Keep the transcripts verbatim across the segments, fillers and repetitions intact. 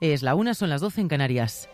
Es la una, son las doce en Canarias.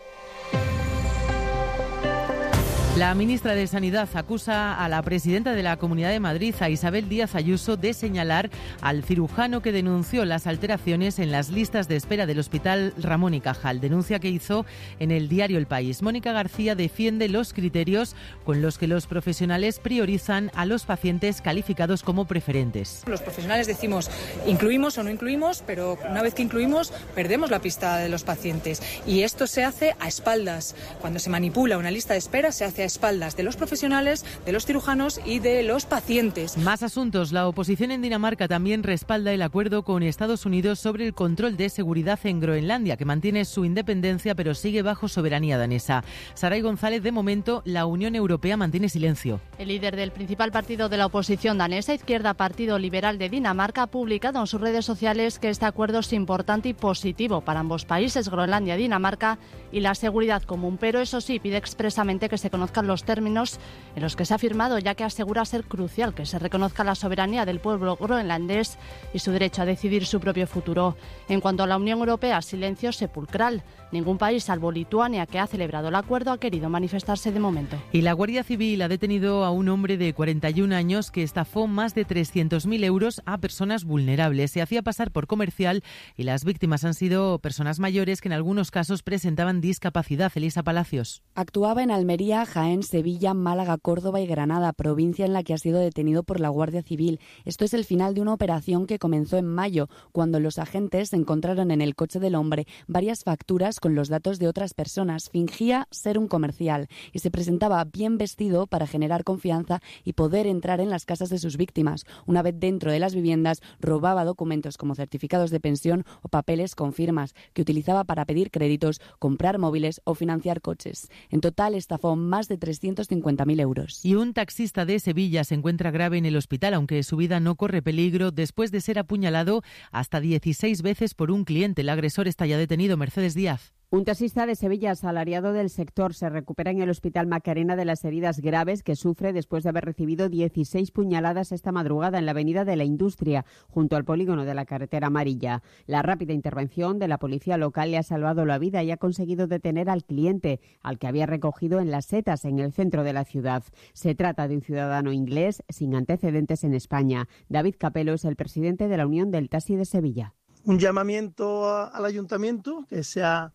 La ministra de Sanidad acusa a la presidenta de la Comunidad de Madrid, a Isabel Díaz Ayuso, de señalar al cirujano que denunció las alteraciones en las listas de espera del Hospital Ramón y Cajal. Denuncia que hizo en el diario El País. Mónica García defiende los criterios con los que los profesionales priorizan a los pacientes calificados como preferentes. Los profesionales decimos incluimos o no incluimos, pero una vez que incluimos perdemos la pista de los pacientes. Y esto se hace a espaldas. Cuando se manipula una lista de espera se hace a espaldas de los profesionales, de los cirujanos y de los pacientes. Más asuntos. La oposición en Dinamarca también respalda el acuerdo con Estados Unidos sobre el control de seguridad en Groenlandia, que mantiene su independencia pero sigue bajo soberanía danesa. Saray González, de momento, la Unión Europea mantiene silencio. El líder del principal partido de la oposición danesa, Izquierda Partido Liberal de Dinamarca, ha publicado en sus redes sociales que este acuerdo es importante y positivo para ambos países, Groenlandia y Dinamarca, y la seguridad común, pero eso sí, pide expresamente que se conozcan los términos en los que se ha firmado, ya que asegura ser crucial que se reconozca la soberanía del pueblo groenlandés y su derecho a decidir su propio futuro. En cuanto a la Unión Europea, silencio sepulcral. Ningún país, salvo Lituania, que ha celebrado el acuerdo, ha querido manifestarse de momento. Y la Guardia Civil ha detenido a un hombre de cuarenta y un años que estafó más de trescientos mil euros a personas vulnerables. Se hacía pasar por comercial y las víctimas han sido personas mayores que en algunos casos presentaban discapacidad. Elisa Palacios. Actuaba en Almería, Jaén, Sevilla, Málaga, Córdoba y Granada, provincia en la que ha sido detenido por la Guardia Civil. Esto es el final de una operación que comenzó en mayo, cuando los agentes encontraron en el coche del hombre varias facturas con los datos de otras personas. Fingía ser un comercial y se presentaba bien vestido para generar confianza y poder entrar en las casas de sus víctimas. Una vez dentro de las viviendas, robaba documentos como certificados de pensión o papeles con firmas que utilizaba para pedir créditos, comprar móviles o financiar coches. En total, estafó más de trescientos cincuenta mil euros. Y un taxista de Sevilla se encuentra grave en el hospital, aunque su vida no corre peligro después de ser apuñalado hasta dieciséis veces por un cliente. El agresor está ya detenido. Mercedes Díaz. Un taxista de Sevilla, asalariado del sector, se recupera en el Hospital Macarena de las heridas graves que sufre después de haber recibido dieciséis puñaladas esta madrugada en la Avenida de la Industria, junto al polígono de la Carretera Amarilla. La rápida intervención de la policía local le ha salvado la vida y ha conseguido detener al cliente, al que había recogido en Las Setas, en el centro de la ciudad. Se trata de un ciudadano inglés sin antecedentes en España. David Capello es el presidente de la Unión del Taxi de Sevilla. Un llamamiento a, al ayuntamiento que sea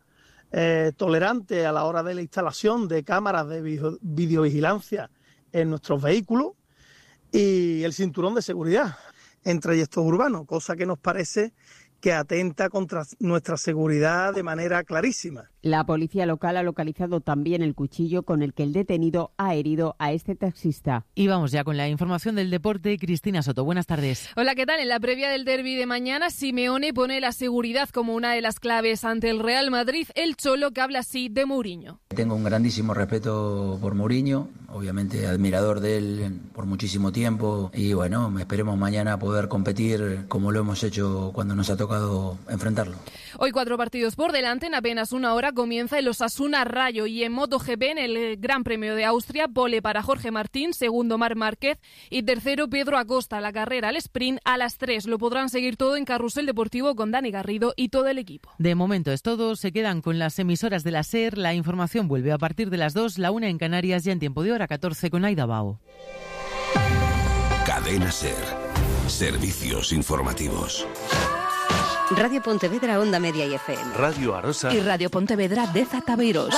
Eh, tolerante a la hora de la instalación de cámaras de video, videovigilancia en nuestros vehículos y el cinturón de seguridad en trayectos urbanos, cosa que nos parece que atenta contra nuestra seguridad de manera clarísima. La policía local ha localizado también el cuchillo con el que el detenido ha herido a este taxista. Y vamos ya con la información del deporte. Cristina Soto, buenas tardes. Hola, ¿qué tal? En la previa del derbi de mañana, Simeone pone la seguridad como una de las claves ante el Real Madrid. El Cholo, que habla así de Mourinho. Tengo un grandísimo respeto por Mourinho, obviamente admirador de él por muchísimo tiempo y bueno, esperemos mañana poder competir como lo hemos hecho cuando nos ha tocado enfrentarlo. Hoy cuatro partidos por delante, en apenas una hora comienza el Osasuna Rayo y en MotoGP en el Gran Premio de Austria, pole para Jorge Martín, segundo Marc Márquez y tercero Pedro Acosta. La carrera al sprint a las tres. Lo podrán seguir todo en Carrusel Deportivo con Dani Garrido y todo el equipo. De momento es todo, se quedan con las emisoras de la SER, la información vuelve a partir de las dos, la una en Canarias, ya en tiempo de hora catorce con Aida Bao. Cadena SER, servicios informativos. Radio Pontevedra, Onda Media y F M. Radio Arosa. Y Radio Pontevedra de Zataveiros.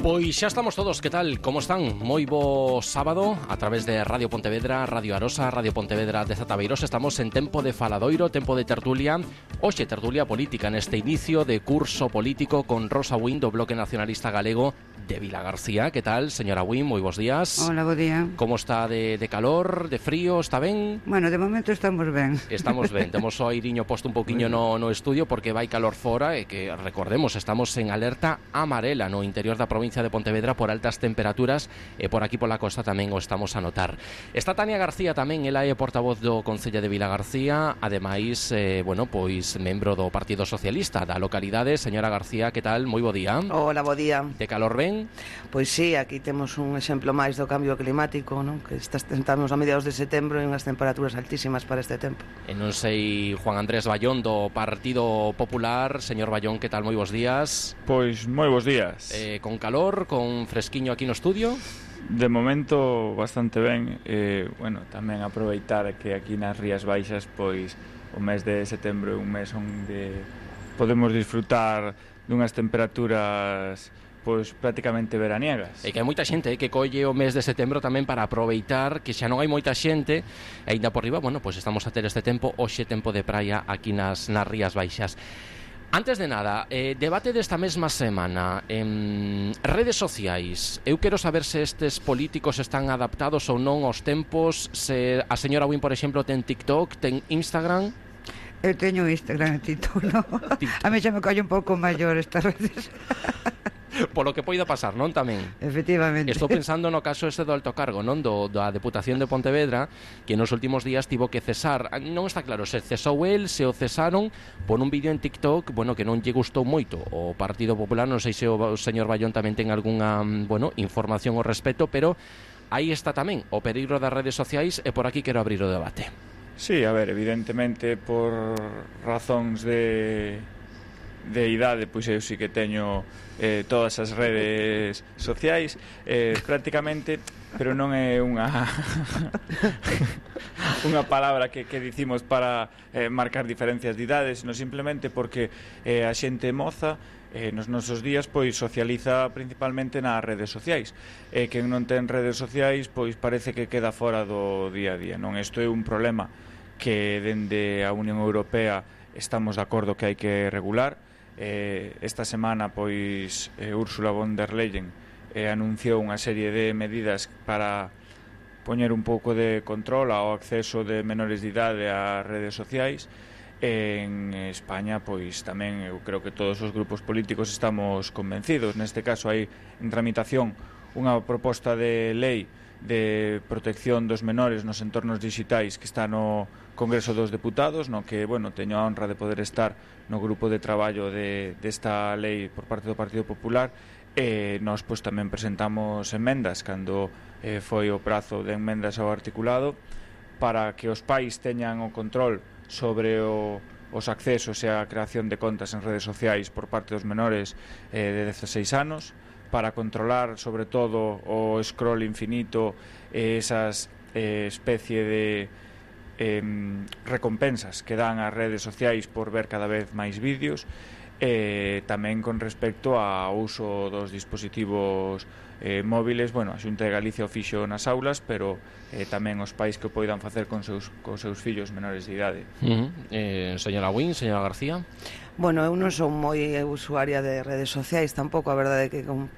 Pois xa estamos todos, que tal? Como están? Moi bo sábado a través de Radio Pontevedra, Radio Arosa, Radio Pontevedra de Zataveiros. Estamos en tempo de faladoiro, tempo de tertulia. Hoxe tertulia política neste inicio de curso político con Rosa Win do Bloque Nacionalista Galego de Vilagarcía. Que tal, señora Win? Moi bons días. Hola, bo día. Como está de, de calor, de frío? Está ben? Bueno, de momento estamos ben. Estamos ben. Temos o airiño posto un poquinho no, no estudio porque vai calor fora e que, recordemos, estamos en alerta amarela no interior da provincia provincia de Pontevedra por altas temperaturas e por aquí pola costa tamén o estamos a notar. Está Tania García tamén, ela é portavoz do Concello de Vilagarcía, ademais, eh, bueno, pois membro do Partido Socialista da localidade. Señora García, que tal? Moi bo día. Hola, bo día. De calor ben? Pois sí, aquí temos un exemplo máis do cambio climático, non? Que estamos a mediados de setembro e unhas temperaturas altísimas para este tempo. E non sei, Juan Andrés Bayón do Partido Popular. Señor Bayón, que tal? Moi bos días. Pois moi bos días. Eh, con calor, con fresquiño aquí no estudio? De momento bastante ben. eh, Bueno, tamén aproveitar que aquí nas Rías Baixas pois o mes de setembro é un mes onde podemos disfrutar dunhas temperaturas pois prácticamente veraniegas. E que hai moita xente eh, que colle o mes de setembro tamén para aproveitar que xa non hai moita xente, e ainda por riba, bueno, pois estamos a ter este tempo, hoxe tempo de praia aquí nas, nas Rías Baixas. Antes de nada, eh, debate desta mesma semana en redes sociais. Eu quero saber se estes políticos están adaptados ou non aos tempos, se a señora Win, por exemplo, ten TikTok, ten Instagram. Eu teño Instagram e TikTok, no. TikTok. A mí xa me colle un pouco maior estas redes. Polo que poida pasar, non tamén? Efectivamente. Estou pensando no caso este do alto cargo, non? Do, da Deputación de Pontevedra, que nos últimos días tivo que cesar. Non está claro se cesou el, se o cesaron por un vídeo en TikTok, bueno, que non lle gustou moito o Partido Popular. Non sei se o señor Bayón tamén ten algunha, bueno, información ao respecto, pero aí está tamén o peligro das redes sociais, e por aquí quero abrir o debate. Sí, a ver, evidentemente por razóns de de idade, pois eu sí que teño eh, todas as redes sociais, eh, prácticamente, pero non é unha unha palabra que, que dicimos para eh, marcar diferencias de idades, sino simplemente porque eh, a xente moza eh, nos nosos días pois socializa principalmente nas redes sociais, e eh, quen non ten redes sociais pois parece que queda fora do día a día, non? Isto é un problema que dende a Unión Europea estamos de acordo que hai que regular. Eh, esta semana pois eh, Ursula von der Leyen eh, anunciou unha serie de medidas para poñer un pouco de control ao acceso de menores de idade ás redes sociais. En España pois tamén eu creo que todos os grupos políticos estamos convencidos. Neste caso hai en tramitación unha proposta de lei de protección dos menores nos entornos digitais que está no Congreso dos Deputados, no que, bueno, teño a honra de poder estar no grupo de traballo de, desta lei por parte do Partido Popular, e nós pois tamén presentamos emendas cando eh, foi o prazo de emendas ao articulado para que os pais teñan o control sobre o, os accesos e a creación de contas en redes sociais por parte dos menores eh, de dezaseis anos, para controlar sobre todo o scroll infinito e esas eh, especie de eh, recompensas que dan as redes sociais por ver cada vez máis vídeos, e tamén con respecto ao uso dos dispositivos eh, móviles. Bueno, a Xunta de Galicia o fixo nas aulas, pero eh, tamén os pais que o poidan facer con seus, con seus fillos menores de idade. Uh -huh. eh, Señora Win, señora García. Bueno, eu non son moi usuaria de redes sociais tampouco, a verdade é que con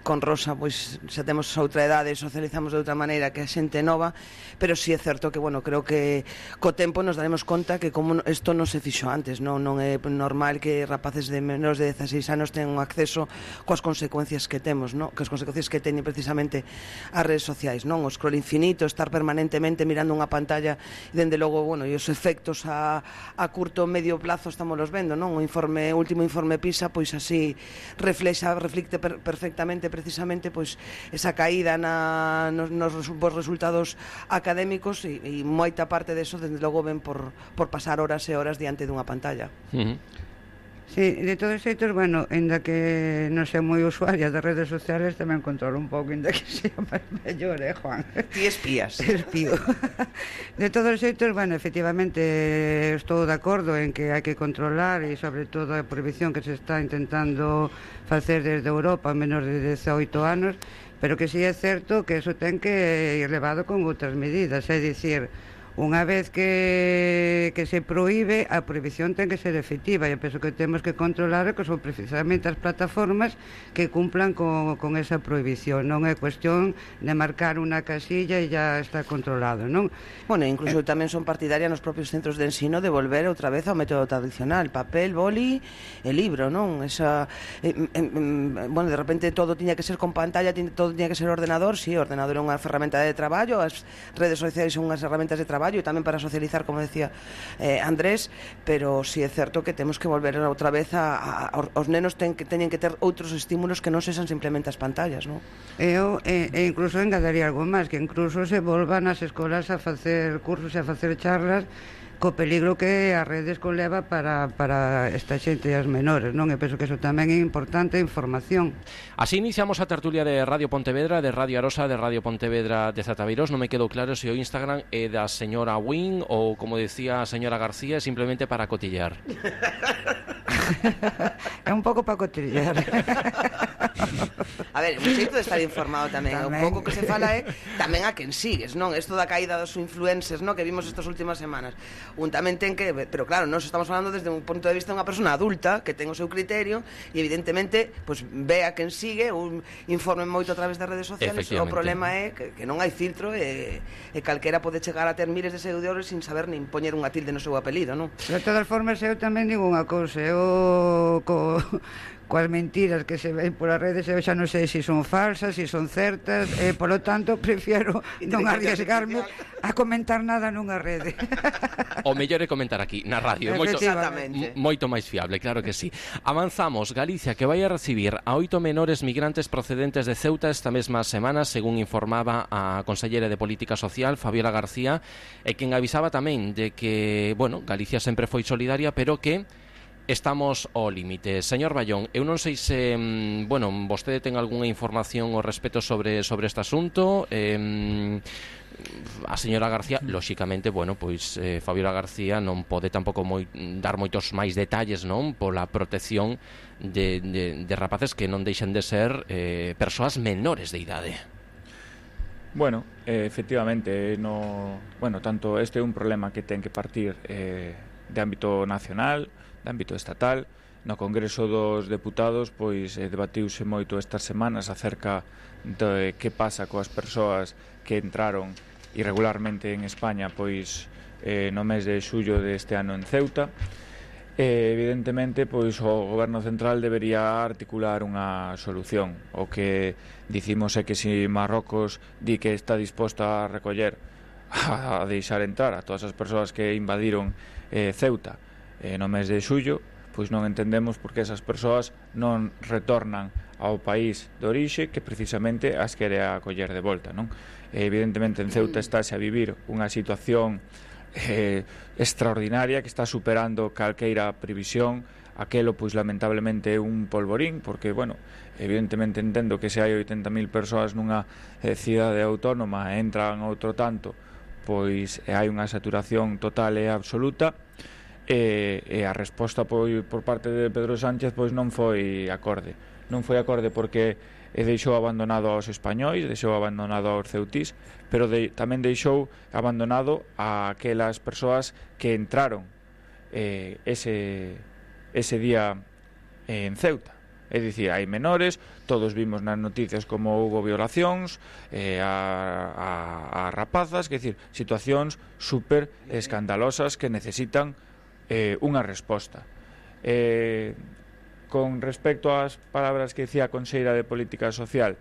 con Rosa pois xa temos outra idade, socializamos de outra maneira que a xente nova, pero si sí é certo que, bueno, creo que co tempo nos daremos conta que como isto non se fixo antes, non non é normal que rapaces de menos de dezaseis anos teñan un acceso coas consecuencias que temos, non? Que as consecuencias que teñen precisamente as redes sociais, non? O scroll infinito, estar permanentemente mirando unha pantalla, e dende logo, bueno, e os efectos a, a curto medio plazo estamos los vendo, non? O informe, o último informe PISA, pois así reflexa, reflicte per, perfectamente precisamente pois esa caída na, nos, nos resultados académicos, e, e moita parte deso desde logo ven por, por pasar horas e horas diante dunha pantalla. Uh -huh. Sí, de todos xeitos, bueno, ainda que non sei moi usuaria das redes sociales, tamén controlo un pouco, ainda que sea máis mellor, eh, Juan? Ti espías. Espío. De todos xeitos, bueno, efectivamente estou de acordo en que hai que controlar, e sobre todo a prohibición que se está intentando facer desde Europa a menos de dezaoito anos, pero que si é certo que eso ten que ir levado con outras medidas, é dicir, Unha vez que, que se proíbe, a prohibición ten que ser efectiva, e eu penso que temos que controlar que son precisamente as plataformas que cumplan con, con esa prohibición. Non é cuestión de marcar unha casilla e ya está controlado, non? Bueno, incluso eh, tamén son partidarias nos propios centros de ensino de volver outra vez ao método tradicional, papel, boli e libro, non? Esa, eh, eh, eh, bueno, de repente todo tiña que ser con pantalla, todo tiña que ser ordenador, sí, o ordenador é unha ferramenta de traballo, as redes sociais son unhas ferramentas de traballo e tamén para socializar, como decía eh, Andrés, pero si sí é certo que temos que volver outra vez a, a os nenos ten que, teñen que ter outros estímulos que non sexan simplemente as pantallas, non? Eu, e, e incluso engadaría algo máis, que incluso se volvan as escolas a facer cursos e a facer charlas co peligro que as redes conleva para, para esta xente e as menores, non? E penso que eso tamén é importante, información. Así iniciamos a tertulia de Radio Pontevedra, de Radio Arosa, de Radio Pontevedra de Zataviros. Non me quedou claro se o Instagram é da señora Win ou, como decía a señora García, simplemente para cotillar. É un pouco para cotillar. A ver, un xeito de estar informado tamén, tamén. Un pouco que se fala é tamén a quen sigues, non? Isto da caída dos influencers, non? Que vimos estas últimas semanas. Un tamén ten que, pero claro, nós estamos falando desde un punto de vista de unha persona adulta que ten o seu criterio e evidentemente, pois pues, ve a quen sigue, un informe moito a través das redes sociales. O problema é que, que non hai filtro e, e calquera pode chegar a ter miles de seguidores sin saber nin poñer unha tilde no seu apelido, non? De todas formas, eu tamén digo unha cousa, eu co... coas mentiras que se ven polas redes eu xa non sei se son falsas, se son certas, e polo tanto prefiero non arriesgarme a comentar nada nunha rede. O mellor é comentar aquí na radio, moito, moito máis fiable, claro que sí. Avanzamos, Galicia que vai a recibir a oito menores migrantes procedentes de Ceuta esta mesma semana, según informaba a consellera de Política Social, Fabiola García, e quen avisaba tamén de que, bueno, Galicia sempre foi solidaria, pero que estamos ao límite. Señor Ballón, eu non sei se, bueno, vostede ten algunha información ao respecto sobre sobre este asunto. Eh, a señora García, lóxicamente, bueno, pois eh, Fabiola García non pode tampouco moi, dar moitos máis detalles, non? Pola protección de, de, de rapaces que non deixen de ser eh, persoas menores de idade. Bueno, eh, efectivamente, no, bueno, tanto este é un problema que ten que partir eh, de ámbito nacional, de ámbito estatal. No Congreso dos Deputados pois eh, debatiuse moito estas semanas acerca de que pasa coas persoas que entraron irregularmente en España pois eh, no mes de xullo deste ano en Ceuta. E, evidentemente, pois o Goberno Central debería articular unha solución. O que dicimos é que se Marrocos di que está disposta a recoller, a deixar entrar a todas as persoas que invadiron eh, Ceuta eh, no mes de xullo, pois non entendemos por que esas persoas non retornan ao país de orixe que precisamente as quere acoller de volta, non? E, evidentemente en Ceuta estáse a vivir unha situación eh, extraordinaria que está superando calqueira previsión. Aquelo pois lamentablemente é un polvorín, porque, bueno, evidentemente entendo que se hai oitenta mil persoas nunha eh, cidade autónoma e entran outro tanto, pois hai unha saturación total e absoluta. E, e a resposta pois, por parte de Pedro Sánchez pois non foi acorde non foi acorde porque deixou abandonado aos españois, deixou abandonado aos ceutís, pero de, tamén deixou abandonado a aquelas persoas que entraron eh, ese, ese día eh, en Ceuta. É dicir, hai menores, todos vimos nas noticias como houve violacións eh, a, a, a rapazas, que decir, situacións super escandalosas que necesitan Eh, unha resposta. Eh, con respecto ás palabras que dicía a conselleira de Política Social,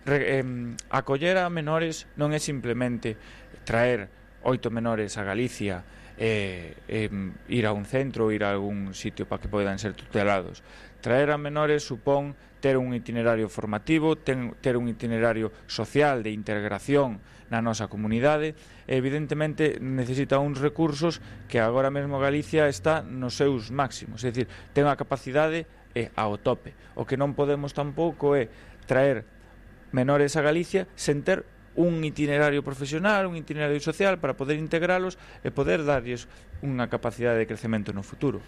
re, eh, acoller a menores non é simplemente traer oito menores a Galicia, eh, eh, ir a un centro, ir a algún sitio para que poidan ser tutelados. Traer a menores supón ter un itinerario formativo, ten, ter un itinerario social de integración na nosa comunidade. Evidentemente necesita uns recursos que agora mesmo Galicia está nos seus máximos, é dicir, ten a capacidade é ao tope. O que non podemos tampouco é traer menores a Galicia sen ter un itinerario profesional, un itinerario social para poder integralos e poder darlles unha capacidade de crecemento no futuro.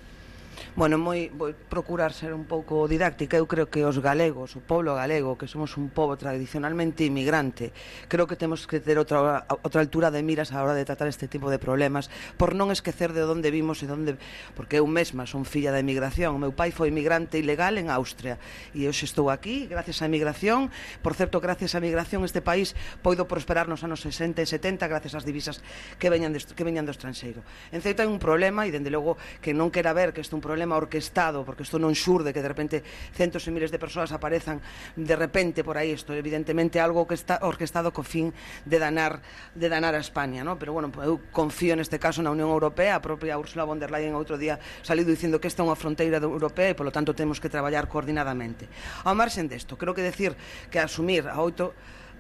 Bueno, moi vou procurar ser un pouco didáctica. Eu creo que os galegos, o pobo galego, que somos un pobo tradicionalmente inmigrante, creo que temos que ter outra, outra altura de miras a hora de tratar este tipo de problemas, por non esquecer de onde vimos e onde... Porque eu mesma son filla da emigración. O meu pai foi emigrante ilegal en Austria e hoxe estou aquí gracias á emigración. Por certo, gracias á emigración este país poido prosperar nos anos sesenta e setenta gracias ás divisas que veñan, de, que veñan do estranxeiro. En Ceuta hai un problema, e dende logo que non quera ver que este é un problema orquestado, porque isto non xurde que de repente centos e miles de persoas aparezan de repente por aí. Isto evidentemente algo que está orquestado co fin de danar de danar a España, ¿no? Pero bueno, eu confío neste caso na Unión Europea. A propia Ursula von der Leyen outro día saliu dicindo que esta é unha fronteira europea e polo tanto temos que traballar coordinadamente. Ao marxen desto, creo que decir que asumir a oito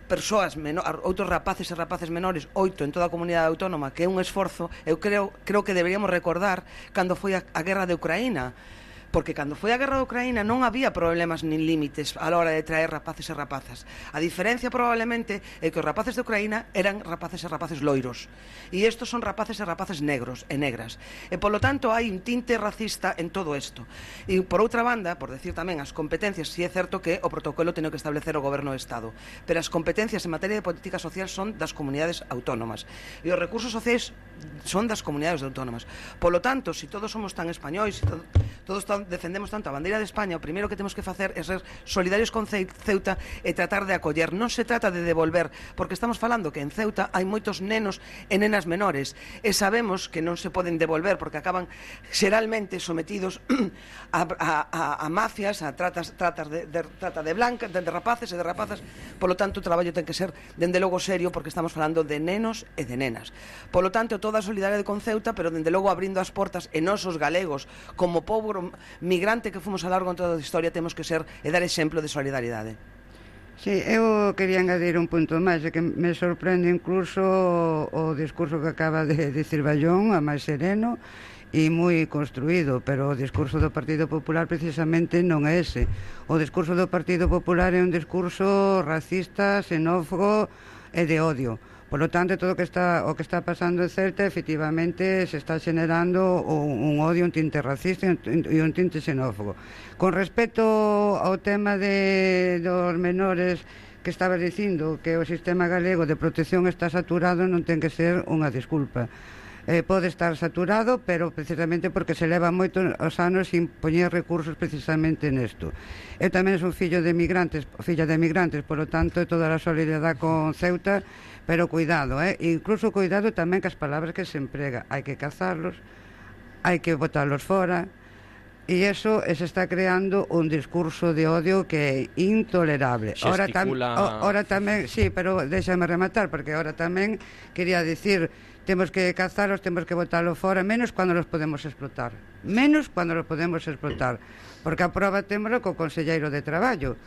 persoas, outros rapaces e rapaces menores, oito en toda a comunidade autónoma, que é un esforzo, eu creo, creo que deberíamos recordar cando foi a, a guerra de Ucraína, porque cando foi a guerra de Ucraína non había problemas nin límites a la hora de traer rapaces e rapazas. A diferencia probablemente é que os rapaces de Ucraína eran rapaces e rapaces loiros, e estos son rapaces e rapaces negros e negras, e polo tanto hai un tinte racista en todo isto. E por outra banda, por decir tamén as competencias, si é certo que o protocolo ten que establecer o goberno do Estado, pero as competencias en materia de política social son das comunidades autónomas e os recursos sociais son das comunidades autónomas. Polo tanto, se si todos somos tan españois, todo, todos tan, defendemos tanto a bandeira de España, o primeiro que temos que facer é ser solidarios con Ceuta e tratar de acoller. Non se trata de devolver, porque estamos falando que en Ceuta hai moitos nenos e nenas menores e sabemos que non se poden devolver porque acaban xeralmente sometidos a, a, a, a mafias, a tratas, tratas de, de, trata de blancas, de, de rapaces e de rapazas. Polo tanto, o traballo ten que ser dende logo serio, porque estamos falando de nenos e de nenas. Polo tanto, toda a solidariedade con Ceuta, pero dende logo abrindo as portas e nosos galegos, como pobo migrante que fomos a largo en toda a historia, temos que ser e dar exemplo de solidariedade. Sí, eu quería engadir un punto máis, é que me sorprende incluso o discurso que acaba de dicir Ballón, a máis sereno e moi construído, pero o discurso do Partido Popular precisamente non é ese. O discurso do Partido Popular é un discurso racista, xenófobo e de odio. Por lo tanto, todo o que está o que está pasando en Ceuta, efectivamente, se está generando un, un odio, un tinte racista e un tinte xenófobo. Con respecto ao tema de dos menores que estaba dicindo que o sistema galego de protección está saturado, non ten que ser unha disculpa. Eh, pode estar saturado, pero precisamente porque se leva moitos anos sin poñer recursos precisamente nesto. Eu tamén son fillo de emigrantes, filla de emigrantes, por lo tanto, toda a solidaridade con Ceuta, pero cuidado, eh? Incluso cuidado tamén que as palabras que se emprega. Hai que cazarlos, hai que botarlos fora, e eso se está creando un discurso de odio que é intolerable. Ahora, tam, ahora tamén, sí, pero déxame rematar, porque ahora tamén quería dicir, temos que cazalos, temos que botarlos fora, menos cando los podemos explotar. Menos cando los podemos explotar. Porque a prova témolo co Conselleiro de Traballo,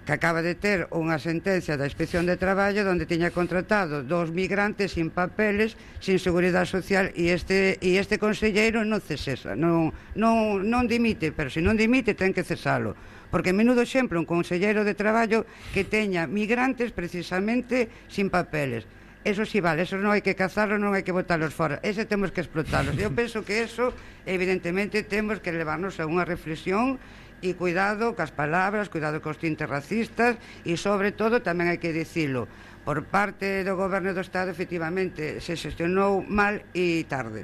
que acaba de ter unha sentencia da Inspección de Traballo onde tiña contratado dos migrantes sin papeles, sin seguridade social, e este e este conselleiro non cesesa, non, non, non dimite, pero se non dimite ten que cesalo, porque menudo exemplo un conselleiro de Traballo que teña migrantes precisamente sin papeles. Eso sí vale, eso non hai que cazarlos, non hai que botarlos fora, ese temos que explotarlos. Eu penso que eso, evidentemente, temos que levarnos a unha reflexión e cuidado cas palabras, cuidado cos tintes racistas e, sobre todo, tamén hai que dicilo, por parte do Goberno do Estado, efectivamente, se xestionou mal e tarde.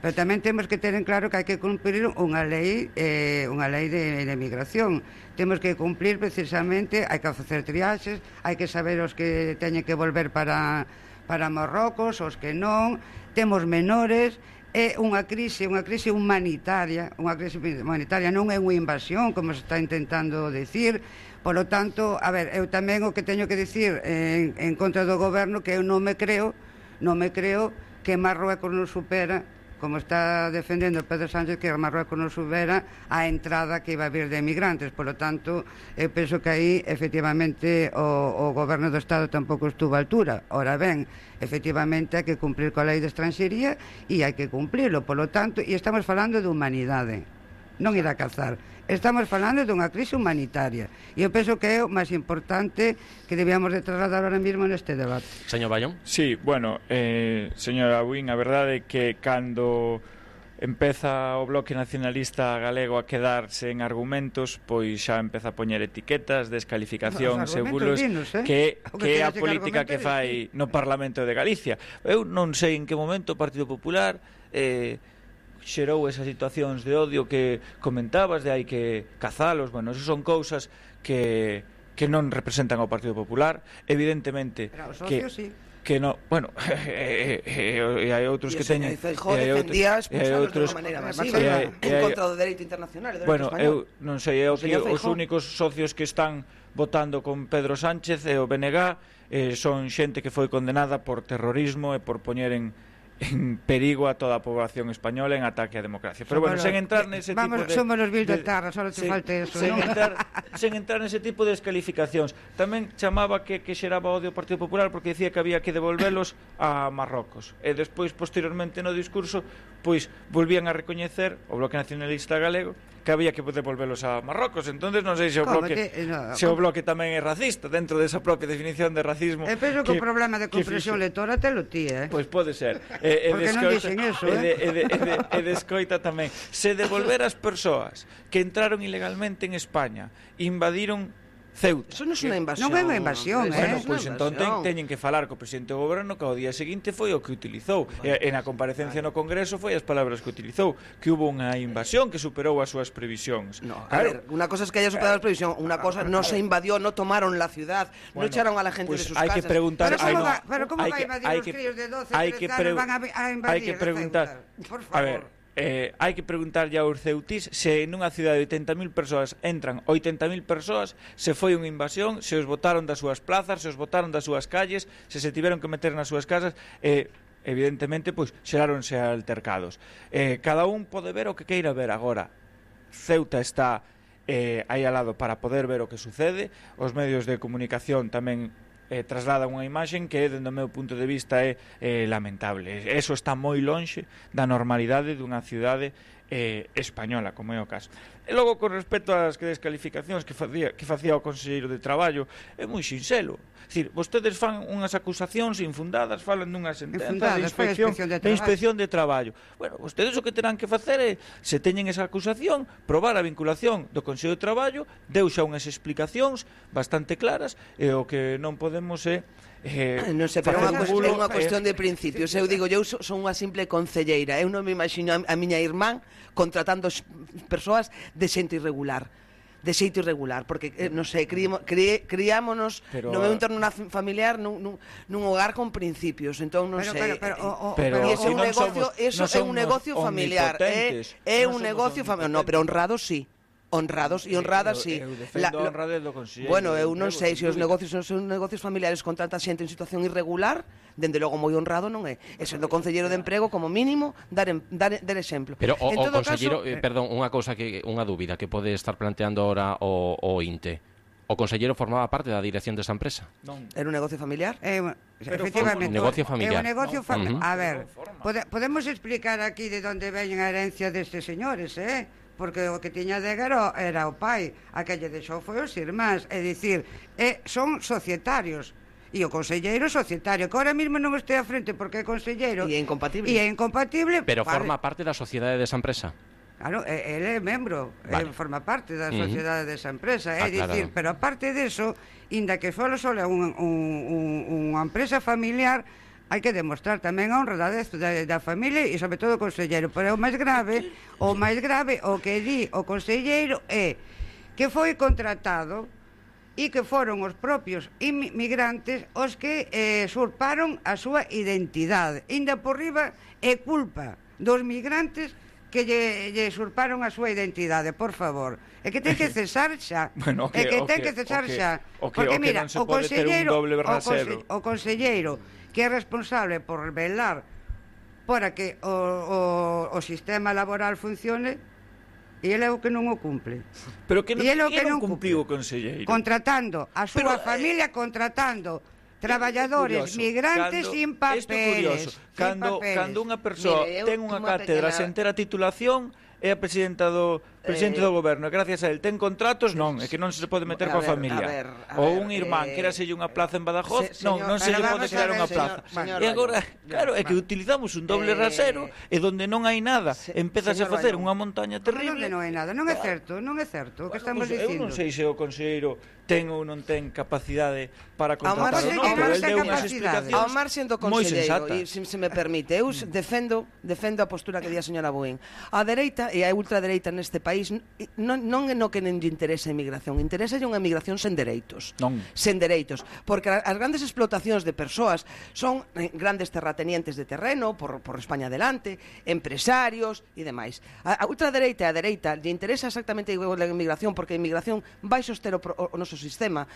Pero tamén temos que ter en claro que hai que cumprir unha lei eh, unha lei de, de migración. Temos que cumplir precisamente, hai que facer triaxes, hai que saber os que teñen que volver para, para Marrocos, os que non, temos menores. É unha crise, unha crise humanitaria, unha crise humanitaria, non é unha invasión, como se está intentando decir. Por lo tanto, a ver, eu tamén o que teño que dicir en, en contra do goberno, que eu non me creo, non me creo que Marruecos non supera, como está defendendo Pedro Sánchez, que Marruecos non supera a entrada que iba a vir de emigrantes. Por lo tanto, eu penso que aí, efectivamente, o, o goberno do Estado tampouco estuvo a altura. Ora ben, efectivamente, hai que cumplir coa lei de estranxería e hai que cumplirlo. Por lo tanto, e estamos falando de humanidade, non ir a cazar. Estamos falando dunha crise humanitaria. E eu penso que é o máis importante que debíamos de trasladar ahora mesmo neste debate. Señor Ballón? Sí, bueno, eh, señora Buín, a verdade é que cando empeza o Bloque Nacionalista Galego a quedarse en argumentos, pois xa empeza a poñer etiquetas, descalificacións e bulos, dinos, eh? que, que é a que política que fai no Parlamento de Galicia. Eu non sei en que momento o Partido Popular eh, xerou esas situacións de odio que comentabas, de hai que cazalos. Bueno, eso son cousas que, que non representan ao Partido Popular, evidentemente. Pero os que, socios sí. que no, bueno, e eh, eh, eh, hai outros que teñen, e Feijóo defendía expulsalos de unha maneira masiva en contra do dereito internacional e do bueno, dereito español. eu non sei, é o que os únicos socios que están votando con Pedro Sánchez e o B N G eh, son xente que foi condenada por terrorismo e por poñer en en perigo a toda a población española en ataque á democracia. Pero bueno, sen entrar nese tipo de... Somos los vil de terra, só te falta eso, sen, non? entrar, sen entrar nese tipo de descalificacións. Tamén chamaba que, que xeraba odio ao Partido Popular porque decía que había que devolvelos a Marrocos. E despois, posteriormente, no discurso, pois, volvían a recoñecer o Bloque Nacionalista Galego que había que devolvelos a Marrocos. Entonces non sei se o bloque te, no, se o bloque tamén é racista dentro desa propia definición de racismo. E penso que, que o problema de compresión lectora te lo ti, eh? Pois pode ser. E, e porque non dixen eso, eh? E de, e, de, e, de, e de escoita tamén. Se devolver as persoas que entraron ilegalmente en España, invadiron Ceuta. Eso non é unha invasión. Non é unha invasión, eh? Bueno, pois entón ten, teñen que falar co presidente do goberno que ao día seguinte foi o que utilizou. E, e na comparecencia no Congreso foi as palabras que utilizou, que hubo unha invasión que superou as súas previsións. No, claro. A ver, unha cosa es que haya superado as previsións, unha cosa no se invadió, no tomaron la ciudad, bueno, no echaron a la gente pues de sus hai casas. Que preguntar, pero cómo no, va, pero cómo va a invadir los críos de doce, trece años van a, a invadir hai que preguntar, por favor. A ver, Eh, hai que preguntar ya aos ceutís se nunha cidade de oitenta mil persoas entran oitenta mil persoas, se foi unha invasión, se os botaron das súas plazas, se os botaron das súas calles, se se tiveron que meter nas súas casas, eh, evidentemente, pois, xeráronse altercados. Eh, cada un pode ver o que queira ver agora. Ceuta está eh, aí ao lado para poder ver o que sucede, os medios de comunicación tamén Eh, traslada unha imaxen que, dende o meu punto de vista, é eh, lamentable. Eso está moi lonxe da normalidade dunha cidade eh, española, como é o caso. E logo, con respecto ás descalificacións que facía, que facía o conselleiro de Traballo, é moi sinxelo. É dicir, vostedes fan unhas acusacións infundadas, falan dunha sentenza de inspección, inspección de, de inspección de traballo. Bueno, vostedes o que terán que facer é, se teñen esa acusación, probar a vinculación do Consello de Traballo, deu xa unhas explicacións bastante claras, e o que non podemos é Eh, non sei, pero é unha cuestión, unha cuestión de principios. Eu digo, eu son unha simple concelleira. Eu non me imagino a, a miña irmán contratando persoas de xente irregular. De xeito irregular, porque, eh, non sei, criamos, cri, criámonos pero, no meu entorno familiar nun, nun, nun hogar con principios, entón non pero, sei. Pero, pero, o, o, pero, pero ese é un negocio, somos, eso é un negocio familiar, é, é un negocio familiar. No, pero honrados sí. Honrados e honradas, sí. Eu, eu defendo a honradez do conselleiro. Bueno, eu non sei se os negocios son negocios familiares contratan xente en situación irregular, dende logo moi honrado non é. E sendo concelleiro de emprego, como mínimo, dar, en, dar, dar exemplo. Pero o, o conselleiro, caso, eh, perdón, unha cousa que unha dúbida que pode estar planteando ahora o, o I N T E. O conselleiro formaba parte da dirección desa empresa? Non. Era un negocio familiar? Eh, efectivamente. Un negocio familiar. É un negocio familiar. No. A ver, pode, podemos explicar aquí de onde veñen a herencia destes señores, eh? Porque o que tiña de Guero era o pai, a que lle deixou foi os irmáns, é dicir, eh, son societarios. E o conselleiro societario, que ahora mesmo non este a frente porque é conselleiro. E é incompatible. E é incompatible. Pero vale. Forma parte da sociedade desa empresa. Claro, ele é membro, vale. Ele forma parte da sociedade uh-huh. desa empresa, é ah, dicir, claro. Pero aparte deso, inda que solo só é un, un, un, unha empresa familiar, hai que demostrar tamén a honradez da, da familia e sobre todo o conselleiro. Pero o máis grave, o máis grave, o que di o conselleiro é que foi contratado e que foron os propios inmigrantes os que eh, surparon a súa identidade. Inda por riba é culpa dos migrantes que lle, lle surparon a súa identidade, por favor. É que ten que cesar xa. Bueno, okay, é que ten okay, que cesar okay, xa. Okay, Porque okay, mira, non se o pode ter un doble o, conse, o conselleiro que é responsable por velar para que o, o, o sistema laboral funcione, e ele é o que non o cumple. Pero que non, e ele o que non cumpliu o conselleiro. Contratando a súa Pero, familia, contratando traballadores migrantes cando, sin papeles. Cando, cando unha persoa Mire, ten unha cátedra sen ter a titulación, é a presidenta do, presidente eh, do goberno, gracias a él ten contratos, non, é que non se pode meter a coa ver, familia. a ver, a Ou ver, un irmán, eh, quéraselle unha plaza en Badajoz, se, non, non se lle pode crear unha plaza. Señor, E agora, Bañón, claro, é que utilizamos un doble eh, rasero e donde non hai nada, se, empezas a facer Bañón, unha montaña terrible. Onde non hai nada, non é certo, non é certo o que estamos Pois eu dicindo. non sei se o conselleiro ten ou non ten capacidade para Ao contratar marxen, ou non, ao pero el marxen deu unhas capacidade. explicacións Ao marxen do moi conselleiro, sensatas. e se, se me permite, eu defendo defendo a postura que di a señora Buín. A dereita e a ultradereita neste país non, non é no que non lle interesa a inmigración, interesa unha inmigración sen dereitos. Non. Sen dereitos, porque as grandes explotacións de persoas son grandes terratenientes de terreno por, por España adelante, empresarios e demais. A, a ultradereita e a dereita lle interesa exactamente igual a inmigración, porque a inmigración vai soster o, o, o noso sistema.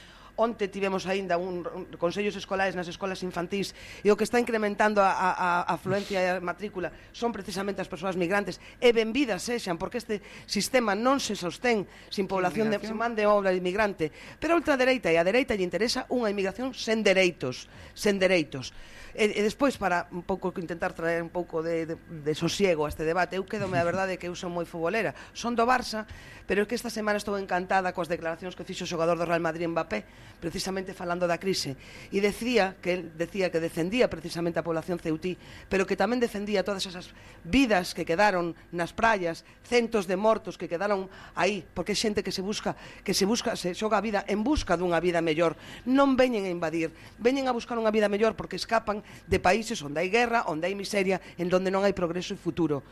Onte tivemos aínda un, un consellos escolares nas escolas infantís e o que está incrementando a, a, a afluencia e a matrícula son precisamente as persoas migrantes e benvidas sexan, porque este sistema non se sostén sin población de, sin man de obra inmigrante, pero a ultradereita e a dereita lle interesa unha inmigración sen dereitos, sen dereitos. E, e despois, para un pouco intentar traer un pouco de, de, de sosiego a este debate, eu quedome a verdade que eu son moi futbolera, son do Barça, pero é que esta semana estou encantada coas declaracións que fixo o xogador do Real Madrid, Mbappé, precisamente falando da crise, e decía que el decía que defendía precisamente a población ceutí, pero que tamén defendía todas esas vidas que quedaron nas praias, centos de mortos que quedaron aí, porque é xente que se busca, que se busca, se xoga a vida en busca dunha vida mellor, non veñen a invadir, veñen a buscar unha vida mellor porque escapan de países onde hai guerra, onde hai miseria, en donde non hai progreso e futuro.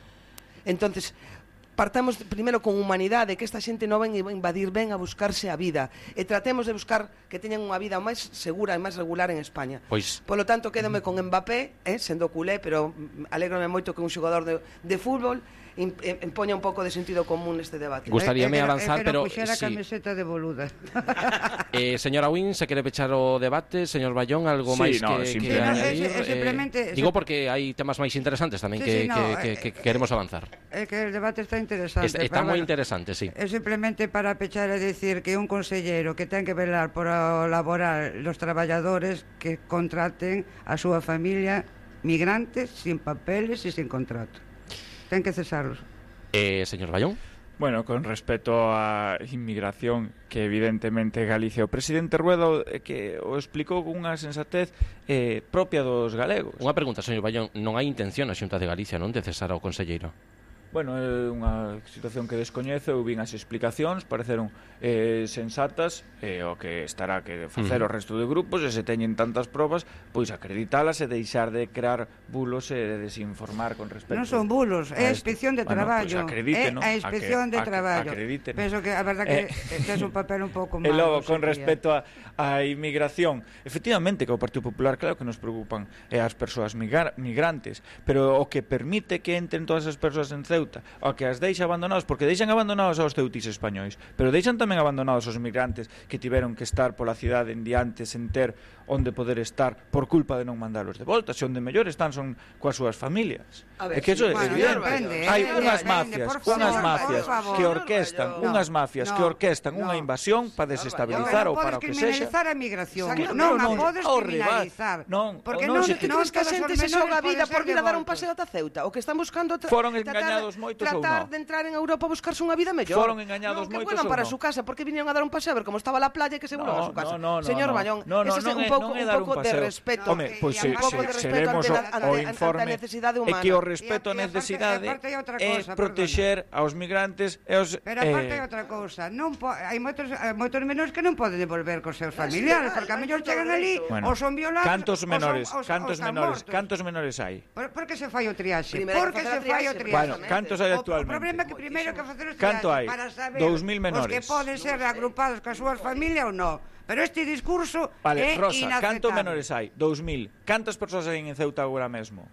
Entonces, partamos primeiro con humanidade, que esta xente non ven a invadir, ven a buscarse a vida, e tratemos de buscar que teñan unha vida máis segura e máis regular en España. Pois... Polo tanto, quédome con Mbappé, eh, sendo culé, pero alégrome moito que un xogador de, de fútbol empoña un pouco de sentido común neste debate. Gustaríame eh, avanzar, eh, pero... puxera a sí. camiseta de boluda. eh, señora Buín, se quere pechar o debate, señor Bayón, algo sí, máis no, que, que simplemente. añadir? No, es, es simplemente, eh, digo porque hai temas máis interesantes tamén sí, que, sí, no, que, que, eh, que queremos avanzar. É que el debate está interesante. Es, está moi bueno, interesante, sí. É simplemente para pechar e decir que un consellero que ten que velar por o laboral los traballadores que contraten a súa familia migrantes sin papeles e sin contrato. Ten que cesarlos. Eh, señor Bayón. Bueno, con respecto á inmigración, que evidentemente Galicia, o presidente Rueda eh, que o explicou con unha sensatez eh, propia dos galegos. Unha pregunta, señor Bayón, non hai intención a Xunta de Galicia non de cesar ao conselleiro? Bueno, é unha situación que descoñezo, eu vin as explicacións, pareceron eh, sensatas, e eh, o que estará que facer uh -huh. o resto de grupos, e se teñen tantas probas, pois acreditalas e deixar de crear bulos e de desinformar con respecto... Non son bulos, é a inspección de bueno, traballo, pues acredite, é ¿no? a inspección de a traballo. Acredite, ¿no? Penso que a verdad que eh, tes un papel un pouco malo. E logo, con respecto a, a inmigración, efectivamente que o Partido Popular, claro que nos preocupan é as persoas migra migrantes, pero o que permite que entren todas as persoas en Ceuta, o que as deixa abandonados, porque deixan abandonados aos ceutís españois, pero deixan tamén abandonados aos migrantes que tiveron que estar pola cidade en diante sen ter onde poder estar por culpa de non mandalos de volta, se onde mellor están son coas súas familias. É que sí, eso é bueno, evidente. Depende, Hai eh, unhas depende, mafias, por favor, unhas por mafias favor. que orquestan, No, unhas mafias no, que orquestan no. unha invasión para desestabilizar ou para o que sexa. Non podes criminalizar a migración, Exacto, non, non, a podes ao criminalizar. Non, porque non, non, se Ti non crees que a todos os xente se menores xoga a vida poden por ser ir a dar un devoltos. paseo ata Ceuta? O que están buscando tra Foron tratar, engañados moitos ou tratar non? de entrar en Europa a buscarse unha vida mellor. Foron engañados non, que moitos vuelan ou para non? su casa, porque vinieron a dar un paseo a ver como estaba la playa e que se vuelvan No, a su casa. no, no, Señor no, Bayón, no, no, ese non é un é- pouco non é un dar pouco un de paseo. respeto. Home, pois se, un pouco se, de se respeto vemos ante, o, ante, o ante informe a necesidade é humana. que o respeto E- á e aparte- necesidade e aparte hai outra é cosa, protexer aos migrantes e aos Pero aparte hai eh, outra cousa, non po hai moitos hai moitos menores que non poden devolver cos seus familiares, porque a mellor chegan ali bueno, ou son violados, cantos ou menores, son, ou, cantos ou están menores, mortos. cantos menores hai? Por, por que se fai o triaxe? Primeiro Por que que facer se a fai o triaxe, triaxe? Bueno, cantos hai O- actualmente? O problema é que primeiro que facer o triaxe Canto hai? para saber dous mil os menores. que poden ser agrupados coas súas familias ou non. Pero este discurso Vale, é Rosa, inaceptable. cantos menores hai? dous mil. Cantas persoas hai en Ceuta agora mesmo?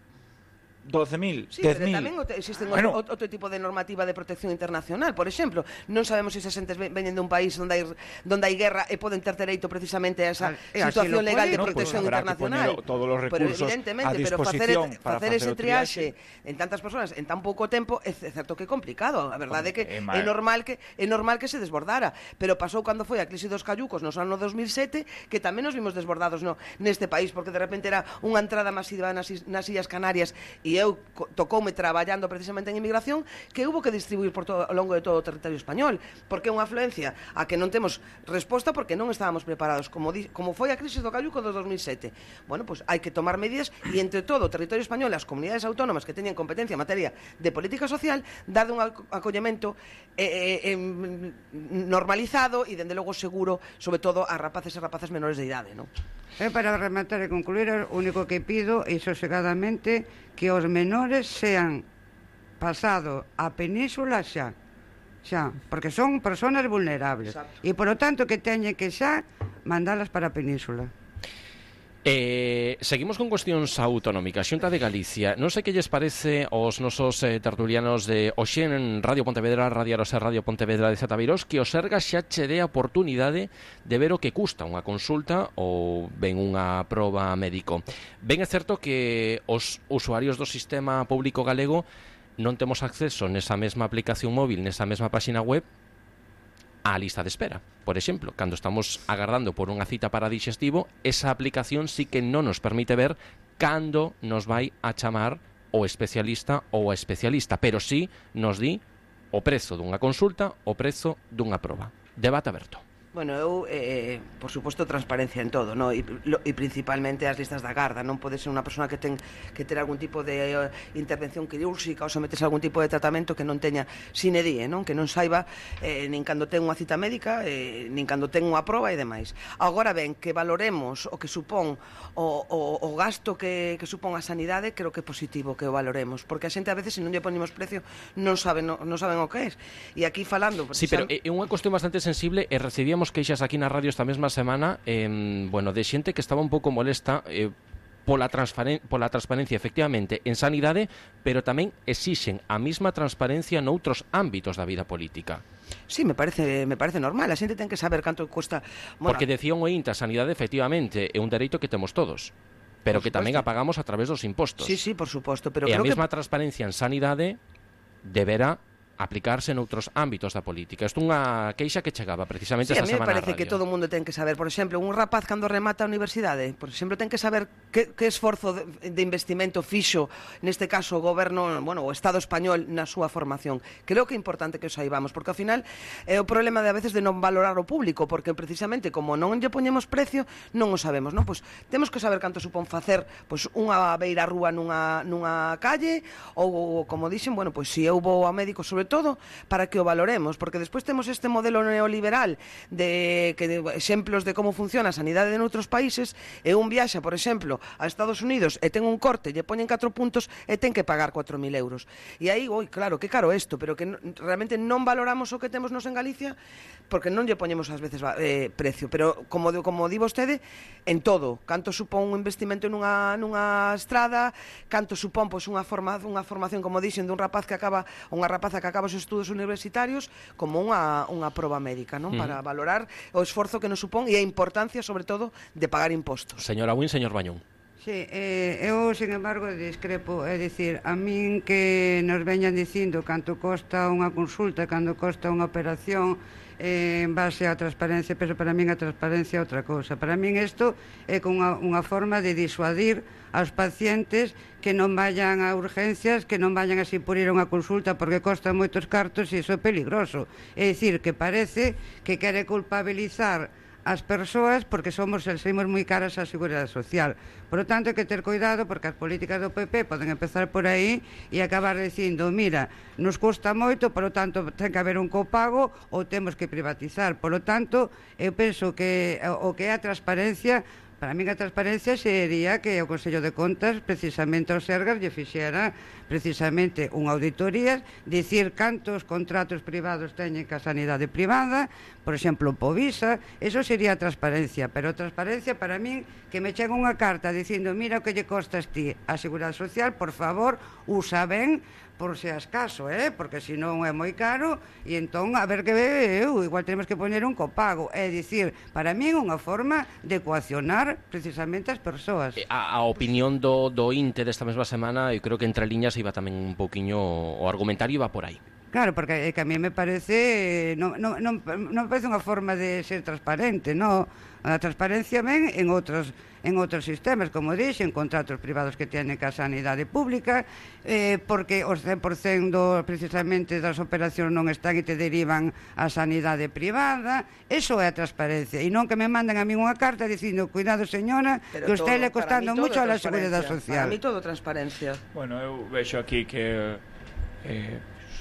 doce mil, Sí, dez pero mil. tamén existen Bueno. outro, outro tipo de normativa de protección internacional. Por exemplo, non sabemos se esas entes veñen dun país onde hai, donde hai guerra e poden ter dereito precisamente a esa E así situación lo legal de poden, no, protección pues habrá que internacional. poner todos los pero recursos evidentemente, a pero facer, disposición para facer facer ese o triaxe. triaxe en tantas persoas en tan pouco tempo é certo que é complicado. A verdade é que É é mal. normal que é normal que se desbordara, pero pasou cando foi a crise dos callucos nos anos dos mil sete, que tamén nos vimos desbordados no neste país, porque de repente era unha entrada masiva nas, is- nas Illas Canarias e e eu tocoume traballando precisamente en inmigración que hubo que distribuir por todo, ao longo de todo o territorio español, porque é unha afluencia a que non temos resposta porque non estábamos preparados, como, di, como foi a crisis do Calluco do dos mil sete. Bueno, pois pues hai que tomar medidas e entre todo o territorio español e as comunidades autónomas que teñen competencia en materia de política social, darle un acollemento eh, eh, normalizado e, dende logo, seguro, sobre todo a rapaces e rapazas menores de idade, non? E para rematar e concluir, o único que pido é sosegadamente que os menores sean pasado a península xa, xa, porque son personas vulnerables. Exacto. E, por lo tanto, que teñen que xa mandalas para a península. Eh, seguimos con cuestións autonómicas. Xunta de Galicia, non sei que lles parece aos nosos eh, tertulianos de hoxe en Radio Pontevedra, Radio Arosa, Radio Pontevedra de Zataviros, que o Sergas xa che dé a oportunidade de ver o que custa unha consulta ou ben unha proba médico. Ben é certo que os usuarios do sistema público galego non temos acceso nesa mesma aplicación móvil, nesa mesma páxina web, á lista de espera. Por exemplo, cando estamos agardando por unha cita para dixestivo, esa aplicación sí que non nos permite ver cando nos vai a chamar o especialista ou a especialista, pero sí nos di o prezo dunha consulta, o prezo dunha proba. Debate aberto. Bueno, eu, eh, por suposto, transparencia en todo, no? E, lo, e principalmente as listas da garda. Non pode ser unha persona que ten que ter algún tipo de uh, intervención quirúrxica ou someterse a algún tipo de tratamento que non teña sine die, non? Que non saiba eh, nin cando ten unha cita médica, eh, nin cando ten unha proba e demais. Agora ben, que valoremos o que supón o, o, o gasto que, que supón a sanidade, creo que é positivo que o valoremos, porque a xente a veces, se non lle ponemos precio, non saben, non, non saben o que é. E aquí falando... Sí, pero é unha cuestión bastante sensible e recibíamos queixas aquí na radio esta mesma semana eh, bueno, de xente que estaba un pouco molesta eh, pola, transparen pola transparencia efectivamente en sanidade, pero tamén exixen a mesma transparencia noutros ámbitos da vida política. Sí, me parece, me parece normal, a xente ten que saber canto cuesta... Bueno, porque decía un oínte, a sanidade efectivamente é un dereito que temos todos, pero que tamén a pagamos a través dos impostos. Sí, sí, por suposto, pero e a creo mesma que... transparencia en sanidade deberá aplicarse noutros ámbitos da política. Isto é unha queixa que chegaba precisamente sí, esta semana. Sí, a mí me parece que todo o mundo ten que saber. Por exemplo, un rapaz cando remata a universidade, por exemplo, ten que saber que, que esforzo de, de investimento fixo, neste caso o goberno, bueno, o Estado español na súa formación. Creo que é importante que o saibamos, porque ao final é o problema de a veces de non valorar o público, porque precisamente como non lle poñemos precio, non o sabemos, non? Pois temos que saber canto supón facer pois unha beira rúa nunha, nunha calle, ou, como dixen, bueno, pois se eu vou ao médico, sobre todo para que o valoremos, porque despois temos este modelo neoliberal de que de exemplos de como funciona a sanidade en outros países, e un viaxa, por exemplo, a Estados Unidos e ten un corte, lle poñen catro puntos e ten que pagar cuatro mil euros. E aí, oi, claro, que caro isto, pero que no, realmente non valoramos o que temos nos en Galicia, porque non lle poñemos ás veces eh, precio, pero como como di vostede, en todo, canto supón un investimento nunha nunha estrada, canto supón pois unha forma unha formación, como dixen, dun rapaz que acaba, unha rapaza que acaba os estudos universitarios, como unha unha proba médica, non? Mm. Para valorar o esforzo que nos supón e a importancia, sobre todo, de pagar impostos. Señora Win, señor Bañón. Sí, eh, eu, sin embargo, discrepo, é dicir, a min que nos veñan dicindo canto costa unha consulta, canto costa unha operación, eh, en base á transparencia, pero para min a transparencia é outra cousa. Para min isto é unha, unha forma de disuadir aos pacientes que non vayan a urgencias, que non vayan así por ir a unha consulta porque costa moitos cartos e iso é peligroso. É dicir, que parece que quere culpabilizar as persoas porque somos somos moi caras á Seguridade Social. Por lo tanto, hai que ter cuidado porque as políticas do P P poden empezar por aí e acabar dicindo, mira, nos custa moito, por lo tanto, ten que haber un copago ou temos que privatizar. Por lo tanto, eu penso que o que é a transparencia, para mí a transparencia sería que o Consello de Contas precisamente ao Sergas lle fixera precisamente unha auditoría, dicir cantos contratos privados teñen ca sanidade privada, por exemplo, Povisa, eso sería a transparencia, pero a transparencia para min que me chega unha carta dicindo, mira o que lle costas ti a Seguridade Social, por favor, usa ben, por se as caso, eh? Porque senón é moi caro e entón, a ver que eu, igual tenemos que poñer un copago, é dicir, para min unha forma de coaccionar precisamente as persoas. A, a opinión do, do INTE desta mesma semana, eu creo que entre liñas iba tamén un pouquiño, o argumentario iba por aí. Claro, porque que a mí me parece non, non, non, non me parece unha forma de ser transparente, non? A transparencia ven en outros en outros sistemas, como dixen, contratos privados que tienen ca sanidade pública, eh, porque os cen por cento precisamente das operacións non están e te derivan a sanidade privada. Eso é a transparencia, e non que me mandan a mí unha carta dicindo, cuidado señora, Pero que usted todo, le costando mucho a la Seguridade Social. Para mí todo transparencia. Bueno, eu vexo aquí que eh,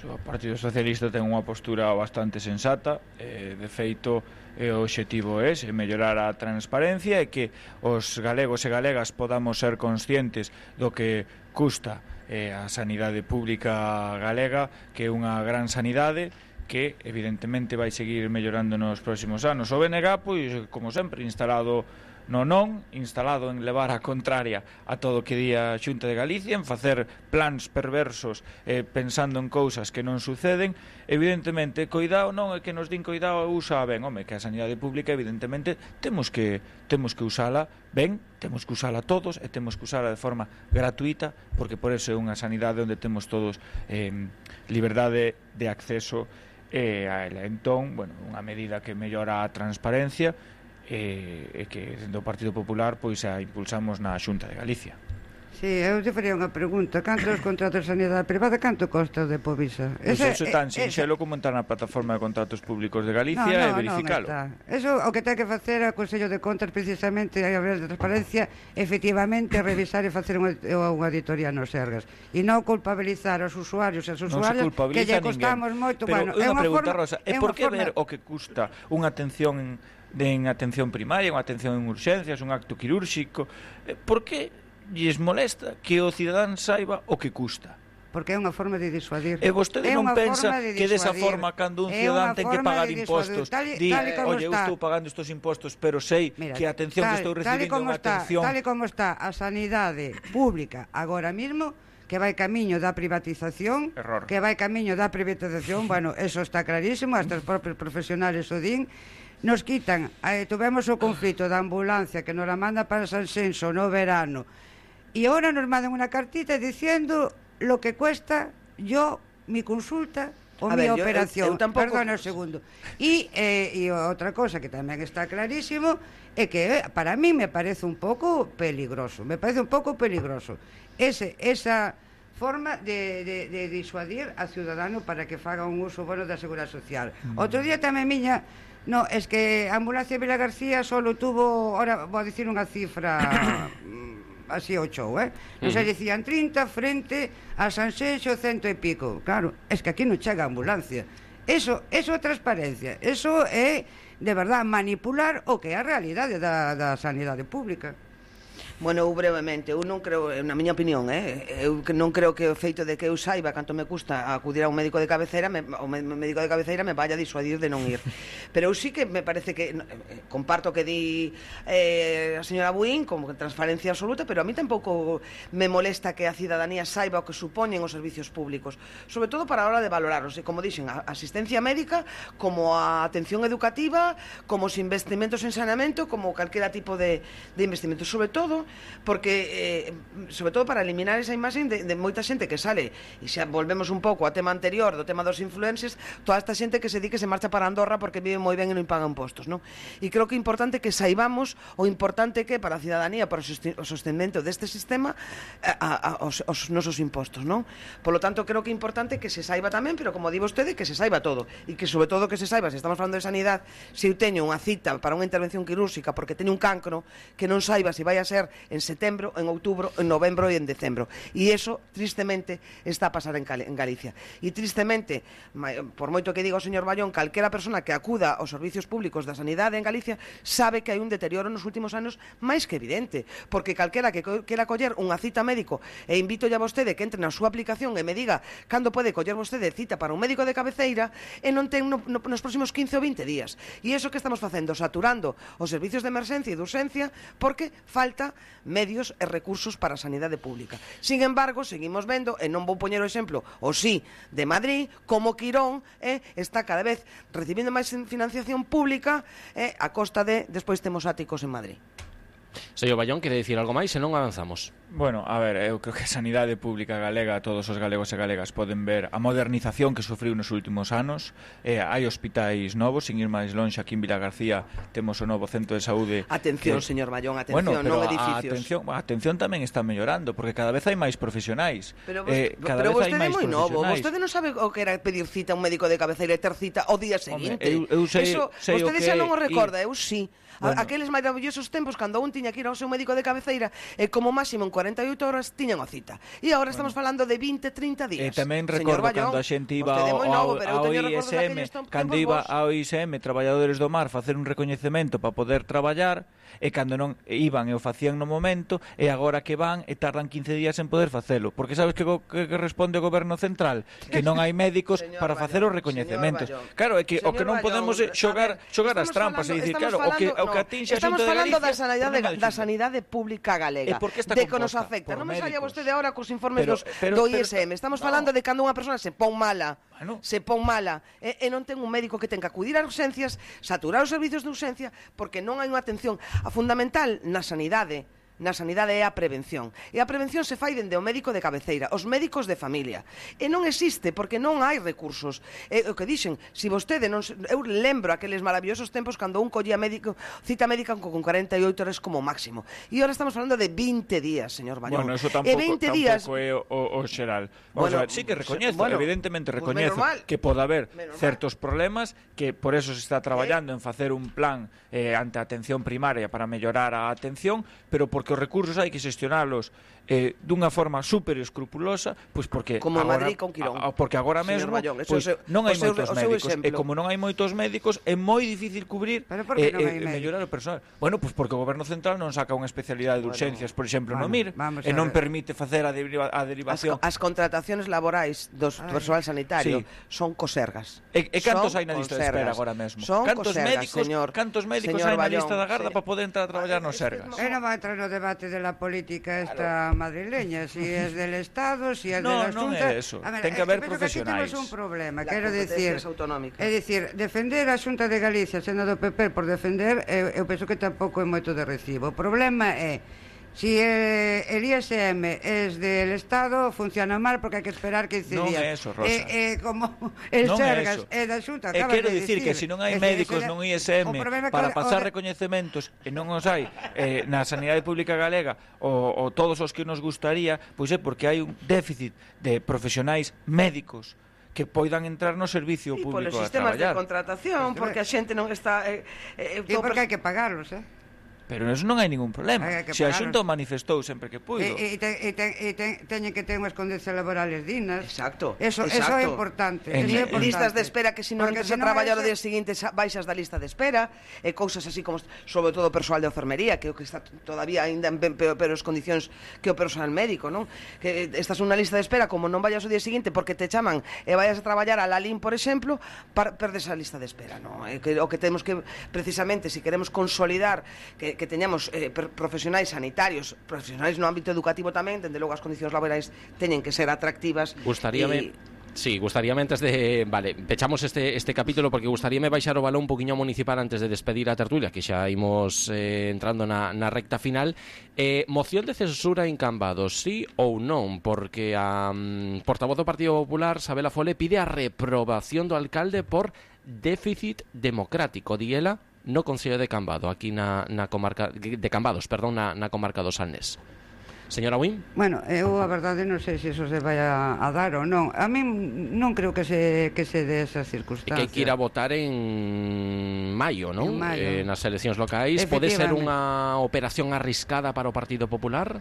o Partido Socialista ten unha postura bastante sensata, eh, de feito e o obxectivo é mellorar a transparencia e que os galegos e galegas podamos ser conscientes do que custa eh, a sanidade pública galega, que é unha gran sanidade que evidentemente vai seguir mellorando nos próximos anos. O B N G, pois, como sempre, instalado no non, instalado en levar a contraria a todo o que di a Xunta de Galicia, en facer plans perversos eh, pensando en cousas que non suceden. Evidentemente, coidado non é que nos din coidado usa ben, home, que a sanidade pública evidentemente temos que temos que usala ben, temos que usala todos e temos que usala de forma gratuita, porque por eso é unha sanidade onde temos todos eh, liberdade de acceso eh, a ela. Entón, bueno, unha medida que mellora a transparencia e, e que dentro do Partido Popular pois a impulsamos na Xunta de Galicia. Sí, eu te faría unha pregunta. Canto os contratos de sanidade privada, canto costa o de Povisa? Pois pues eso é tan sinxelo como entrar na plataforma de contratos públicos de Galicia no, no, e verificalo. Non eso o que ten que facer o Consello de Contas precisamente a ver de transparencia, efectivamente revisar e facer unha, unha auditoría nos Sergas e non culpabilizar aos usuarios e as usuarias que lle costamos moito. Pero bueno, é unha pregunta, forma, Rosa, é por que forma... ver o que custa unha atención de en atención primaria, unha atención en urxencias, un acto quirúrxico, por que lles molesta que o cidadán saiba o que custa? Porque é unha forma de disuadir. E vostede non pensa de que desa forma cando un cidadán ten que pagar impostos di, oye, eu estou pagando estos impostos pero sei Mira, que a atención tal, que estou recibindo é unha atención... Tal e como está a sanidade pública agora mismo, que vai camiño da privatización, Error. que vai camiño da privatización, bueno, eso está clarísimo, hasta os propios profesionales o din. Nos quitan, eh, tuvemos o conflito da ambulancia que nos la manda para San Senso no verano, y ahora nos mandan una cartita diciendo lo que cuesta yo, mi consulta o a mi ver, operación. Yo, eu, eu tampoco... Perdona un segundo. Y, eh, y outra cosa que tamén está clarísimo é que eh, para mí me parece un pouco peligroso, me parece un pouco peligroso ese, esa forma de, de, de disuadir a ciudadano para que faga un uso bueno da Seguridade Social. Mm. Outro día tamén miña no, es que a ambulancia Vila García solo tuvo, ahora vou a dicir unha cifra así o show, eh? Non se dicían trinta frente a San Xenxo cento e pico. Claro, es que aquí non chega a ambulancia. Eso, eso é transparencia. Eso é, de verdad, manipular o que é a realidade da, da sanidade pública. Bueno, eu brevemente, eu non creo, na miña opinión, eh, eu non creo que o feito de que eu saiba canto me custa acudir a un médico de cabeceira, me, o médico de cabeceira me vaya a disuadir de non ir. Pero eu sí que me parece que, eh, comparto que di eh, a señora Buín, como transparencia absoluta, pero a mí tampouco me molesta que a cidadanía saiba o que supoñen os servicios públicos, sobre todo para a hora de valorarlos, e como dixen, a asistencia médica, como a atención educativa, como os investimentos en saneamento, como calquera tipo de, de investimento, sobre todo porque, eh, sobre todo para eliminar esa imaxe de, de moita xente que sale, e xa volvemos un pouco ao tema anterior do tema dos influencers, toda esta xente que se di que se marcha para Andorra porque vive moi ben e non paga impostos, non? E creo que é importante que saibamos o importante que para a cidadanía, para o sostenimento deste sistema, a, a, os, os nosos impostos, non? Por lo tanto, creo que é importante que se saiba tamén, pero como di vostede, que se saiba todo, e que sobre todo que se saiba, se estamos falando de sanidade, se eu teño unha cita para unha intervención quirúrxica porque teño un cancro, que non saiba se vai a ser en setembro, en outubro, en novembro e en decembro. E iso, tristemente, está a pasar en, Gal en Galicia. E tristemente, por moito que diga o señor Ballón, calquera persona que acuda aos servicios públicos da sanidade en Galicia sabe que hai un deterioro nos últimos anos máis que evidente, porque calquera que quera coller unha cita médico, e invito ya a vostede que entre na súa aplicación e me diga cando pode coller vostede cita para un médico de cabeceira, e non ten no, no, nos próximos quince ou vinte días. E iso que estamos facendo, saturando os servicios de emerxencia e de urxencia, porque falta medios e recursos para a sanidade pública. Sin embargo, seguimos vendo, e non vou poñer o exemplo, o sí, de Madrid, como Quirón eh, está cada vez recibindo máis financiación pública eh, a costa de, despois temos áticos en Madrid. Señor Ballón, quere dicir algo máis, se non avanzamos? Bueno, a ver, eu creo que a sanidade pública galega, todos os galegos e galegas poden ver a modernización que sufriu nos últimos anos. Eh, hai hospitais novos, sin ir máis longe, aquí en Vilagarcía temos o novo centro de saúde. Atención, que... señor Mallón, atención, bueno, pero non a edificios. Atención, a atención tamén está mellorando, porque cada vez hai máis profesionais. Pero, vos, eh, cada pero vez vostede é hai máis moi novo, profesionais. vostede non sabe o que era pedir cita a un médico de cabeceira e ter cita o día seguinte. Hombre, eu, eu sei, Eso, sei vostede que... xa non o recorda, y... eu sí. Bueno. Aqueles maravillosos tempos cando un tiña que ir ao seu médico de cabeceira e como máximo en cuarenta e oito horas tiñan a cita. E agora estamos bueno. falando de vinte, trinta días. E tamén recordo cando a xente iba ao, novo, ao, ao I S M, cando iba ao I S M, Traballadores do Mar, facer un recoñecemento para poder traballar, e cando non iban e o facían no momento, e agora que van e tardan quince días en poder facelo. Porque sabes que, que, que responde o goberno central? Que non hai médicos para facer os recoñecementos. Claro, é que señor o que non podemos é xogar, xogar as trampas e dicir, claro, o que, o que atinxe a xente de Galicia... Estamos falando da sanidade, da sanidade pública galega, de que nos afecta. Non me saia vostede agora cos informes pero, dos, pero, do I S M. Estamos no. falando de cando unha persona se pon mala, bueno. se pon mala, e, e non ten un médico que ten que acudir ás urxencias, saturar os servicios de urxencia, porque non hai unha atención a fundamental na sanidade. Na sanidade é a prevención. E a prevención se fai dende o médico de cabeceira, os médicos de familia. E non existe, porque non hai recursos. É o que dixen, se vostede non... Eu lembro aqueles maravillosos tempos cando un collía médico, cita médica con cuarenta e oito horas como máximo. E agora estamos falando de vinte días, señor Ballón. Bueno, eso tampouco, tampouco días... é o, o, o xeral. Vamos bueno, a ver, sí que recoñezo, bueno, evidentemente recoñezo pues que pode haber menos certos mal. problemas, que por eso se está traballando ¿Eh? en facer un plan eh, ante a atención primaria para mellorar a atención, pero por porque os recursos hai que xestionalos eh, dunha forma super escrupulosa, pois porque como agora, Madrid con Quirón. A, porque agora mesmo Mallón, pois, seu, non hai seu, moitos médicos e como non hai moitos médicos é moi difícil cubrir e eh, eh, mellorar o personal. Bueno, pois porque o goberno central non saca unha especialidade de urxencias, por exemplo, bueno, no M I R, e non permite facer a, deriva, a derivación. As, as contratacións laborais dos Ay, personal sanitario sí. son cosergas. E, e cantos hai na lista de espera agora mesmo? Son cantos cosergas, médicos, señor. Cantos médicos hai na lista da garda sí. para poder entrar a traballar nos Sergas? E non vai entrar no debate de la política esta claro. madrileña, si es del Estado, si es no, de la Xunta. No, é eso. A ver, ten que haber que profesionais. Que aquí temos un problema, quero dicir, é dicir, defender a Xunta de Galicia, sendo do P P por defender, eu, eu penso que tampouco é moito de recibo. O problema é si eh, el I S M es del Estado, funciona mal porque hai que esperar quince días. Non é eso, Rosa. Eh, eh, como el non Sergas é da Xunta, acabas de quero dicir que se non hai médicos nun I S M para pasar recoñecementos e non os hai eh, na sanidade pública galega ou, ou todos os que nos gustaría, pois é porque hai un déficit de profesionais médicos que poidan entrar no servicio público a traballar. E polos sistemas de contratación, porque a xente non está... Eh, eh, e porque hai que pagarlos, eh? Pero eso non hai ningún problema. Se a Xunta manifestou sempre que puido. E, e, te, e, te, e te, teñen que ter unhas condicións laborales dignas. Exacto. Eso, exacto. eso é importante. En, eso é importante. Listas de espera que se non entres a traballar o día seguinte baixas da lista de espera, e cousas así como, sobre todo o persoal de enfermería, que o que está todavía ainda en peores condicións que o persoal médico, non? Que estás unha lista de espera, como non vayas o día seguinte porque te chaman e vayas a traballar a Lalín, por exemplo, para perdes a lista de espera, non? E que, o que temos que, precisamente, se queremos consolidar que que teñamos eh, profesionais sanitarios, profesionais no ámbito educativo tamén, dende logo as condicións laborais teñen que ser atractivas. Gustaríame... Y... Sí, gustaríame antes de... Vale, pechamos este este capítulo porque gustaríame baixar o balón un poquinho municipal antes de despedir a tertulia, que xa imos eh, entrando na, na recta final. Eh, moción de censura en Cambados, sí ou non? Porque a um, portavoz do Partido Popular, Sabela Fole, pide a reprobación do alcalde por déficit democrático, di ela, no Concello de Cambado, aquí na, na comarca de Cambados, perdón, na, na comarca do Salnés. Señora Wynn? Bueno, eu a verdade non sei se iso se vai a, a dar ou non. A mí non creo que se que se dé esas circunstancias. E que hai que ir a votar en maio, non? En maio. Eh, nas eleccións locais. Pode ser unha operación arriscada para o Partido Popular?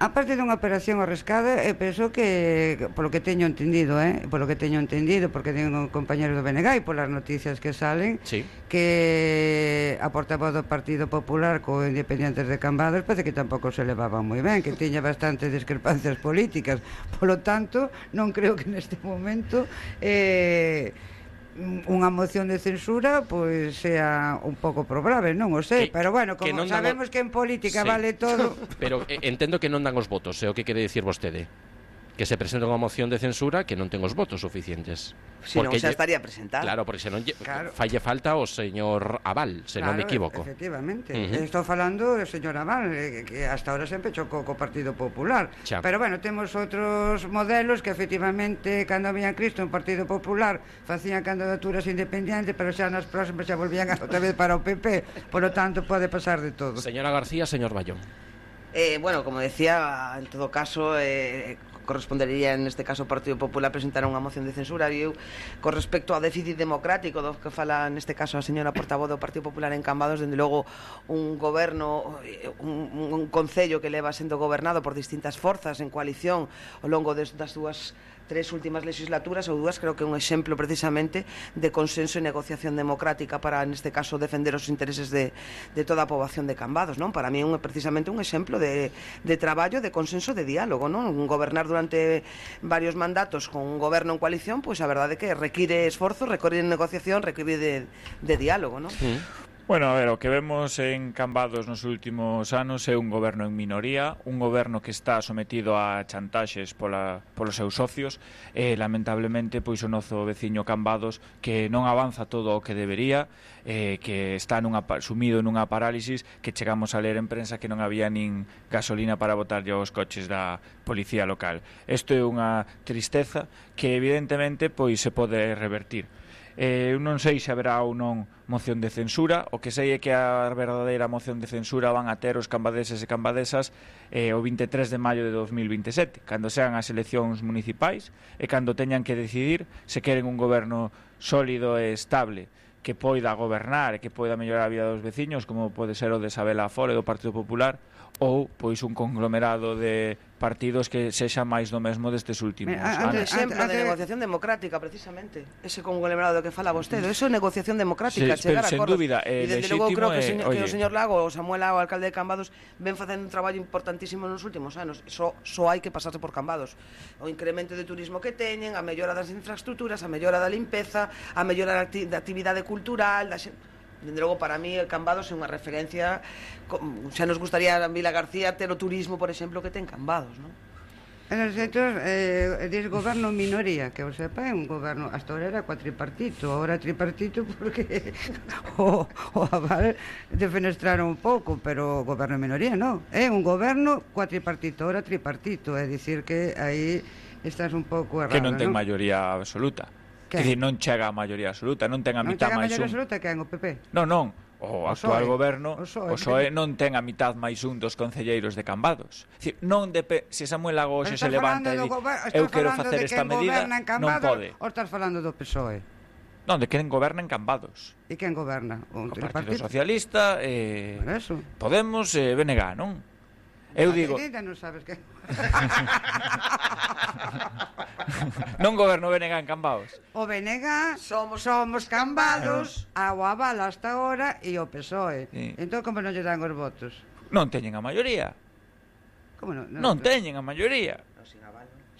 A parte dunha operación arriscada, eu penso que, polo que teño entendido, eh, polo que teño entendido, porque teño un compañero do B N G e polas noticias que salen, sí, que a portavoz do Partido Popular co Independientes de Cambados parece que tampouco se levaba moi ben, que tiña bastantes discrepancias políticas. Polo tanto, non creo que neste momento eh, unha moción de censura pois sea un pouco probable, non o sei, que, pero bueno, como que sabemos dan... que en política sí, vale todo. Pero eh, entendo que non dan os votos, é o que quere dicir vostede. que se presente unha moción de censura que non ten os votos suficientes. Si non, xa estaría presentada. Claro, porque senón claro. falle falta o señor Abal, se non claro, me equivoco. Efectivamente. Uh-huh. Estou falando do señor Abal, eh, que hasta ahora sempre chocou co Partido Popular. Xa. Pero bueno, temos outros modelos que efectivamente, cando había Cristo un Partido Popular, facían candidaturas independientes, pero xa nas próximas xa volvían outra vez para o P P. Por lo tanto, pode pasar de todo. Señora García, señor Bayón. Eh, bueno, como decía, en todo caso, eh, correspondería en este caso ao Partido Popular presentar unha moción de censura. E eu, con respecto ao déficit democrático do que fala neste caso a señora portavoz do Partido Popular en Cambados, dende logo un goberno, un, un concello que leva sendo gobernado por distintas forzas en coalición ao longo des, das dúas tres últimas legislaturas ou dúas, creo que é un exemplo precisamente de consenso e negociación democrática para, neste caso, defender os intereses de, de toda a poboación de Cambados, non? Para mí é un, precisamente un exemplo de, de traballo, de consenso, de diálogo, non? Un gobernar durante varios mandatos con un goberno en coalición, pois a verdade é que require esforzo, require negociación, require de, de diálogo, non? Mm. Bueno, a ver, o que vemos en Cambados nos últimos anos é un goberno en minoría, un goberno que está sometido a chantaxes pola, polos seus socios e, lamentablemente, pois o noso veciño Cambados que non avanza todo o que debería, eh, que está nunha, sumido nunha parálisis que chegamos a ler en prensa que non había nin gasolina para botarlle aos coches da policía local. Isto é unha tristeza que, evidentemente, pois se pode revertir. Eh, non sei se haberá ou non moción de censura. O que sei é que a verdadeira moción de censura van a ter os cambadeses e cambadesas eh, o vinte e tres de maio de dos mil vinte e sete, cando sean as eleccións municipais e cando teñan que decidir se queren un goberno sólido e estable que poida gobernar e que poida mellorar a vida dos veciños, como pode ser o de Sabela Afore do Partido Popular, ou pois un conglomerado de partidos que sexa máis do mesmo destes últimos Mira, anos. Un exemplo de negociación democrática, precisamente. Ese conglomerado do que fala vostede, eso é negociación democrática, sí, chegar a sen acordos. dúbida, eh, e desde logo creo que, eh, que o señor Lago, o Samuel Lago, o alcalde de Cambados, ven facendo un traballo importantísimo nos últimos anos. Só so, so hai que pasarse por Cambados. O incremento de turismo que teñen, a mellora das infraestructuras, a mellora da limpeza, a mellora da, acti da actividade cultural, da xente. Dende logo, para mí, el Cambados é unha referencia. Xa nos gustaría a Vila García ter o turismo, por exemplo, que ten Cambados, non? En os centros, eh, diz goberno minoría, que o sepa, é un goberno, hasta ahora era cuatripartito, ahora tripartito porque o, o Aval defenestraron un pouco, pero o goberno minoría non, é un goberno cuatripartito, ahora tripartito, é dicir que aí estás un pouco errado, que non ten ¿no? maioría absoluta. Que? Que dicir, non chega a maioría absoluta, non ten a non mitad chega a máis maioría un. absoluta que en o P P. Non, non, o, o actual P S O E. goberno, o P S O E, o P S O E non ten a mitad máis un dos concelleiros de Cambados. Dicir, non depe, se Samuel Lago hoxe se levanta e di, eu quero facer esta medida, non pode. Ou estás falando do P S O E? Non, de quen goberna en Cambados. E quen goberna? O Partido Socialista, eh, eso. Podemos e eh, B N G, non? Eu digo... Non sabes que... non goberno B N G en Cambados. O B N G somos, somos Cambados, a o Aval hasta ahora e o P S O E. Sí. Entón, como non lle dan os votos? Non teñen a maioría. Como non? Non, non teñen a maioría.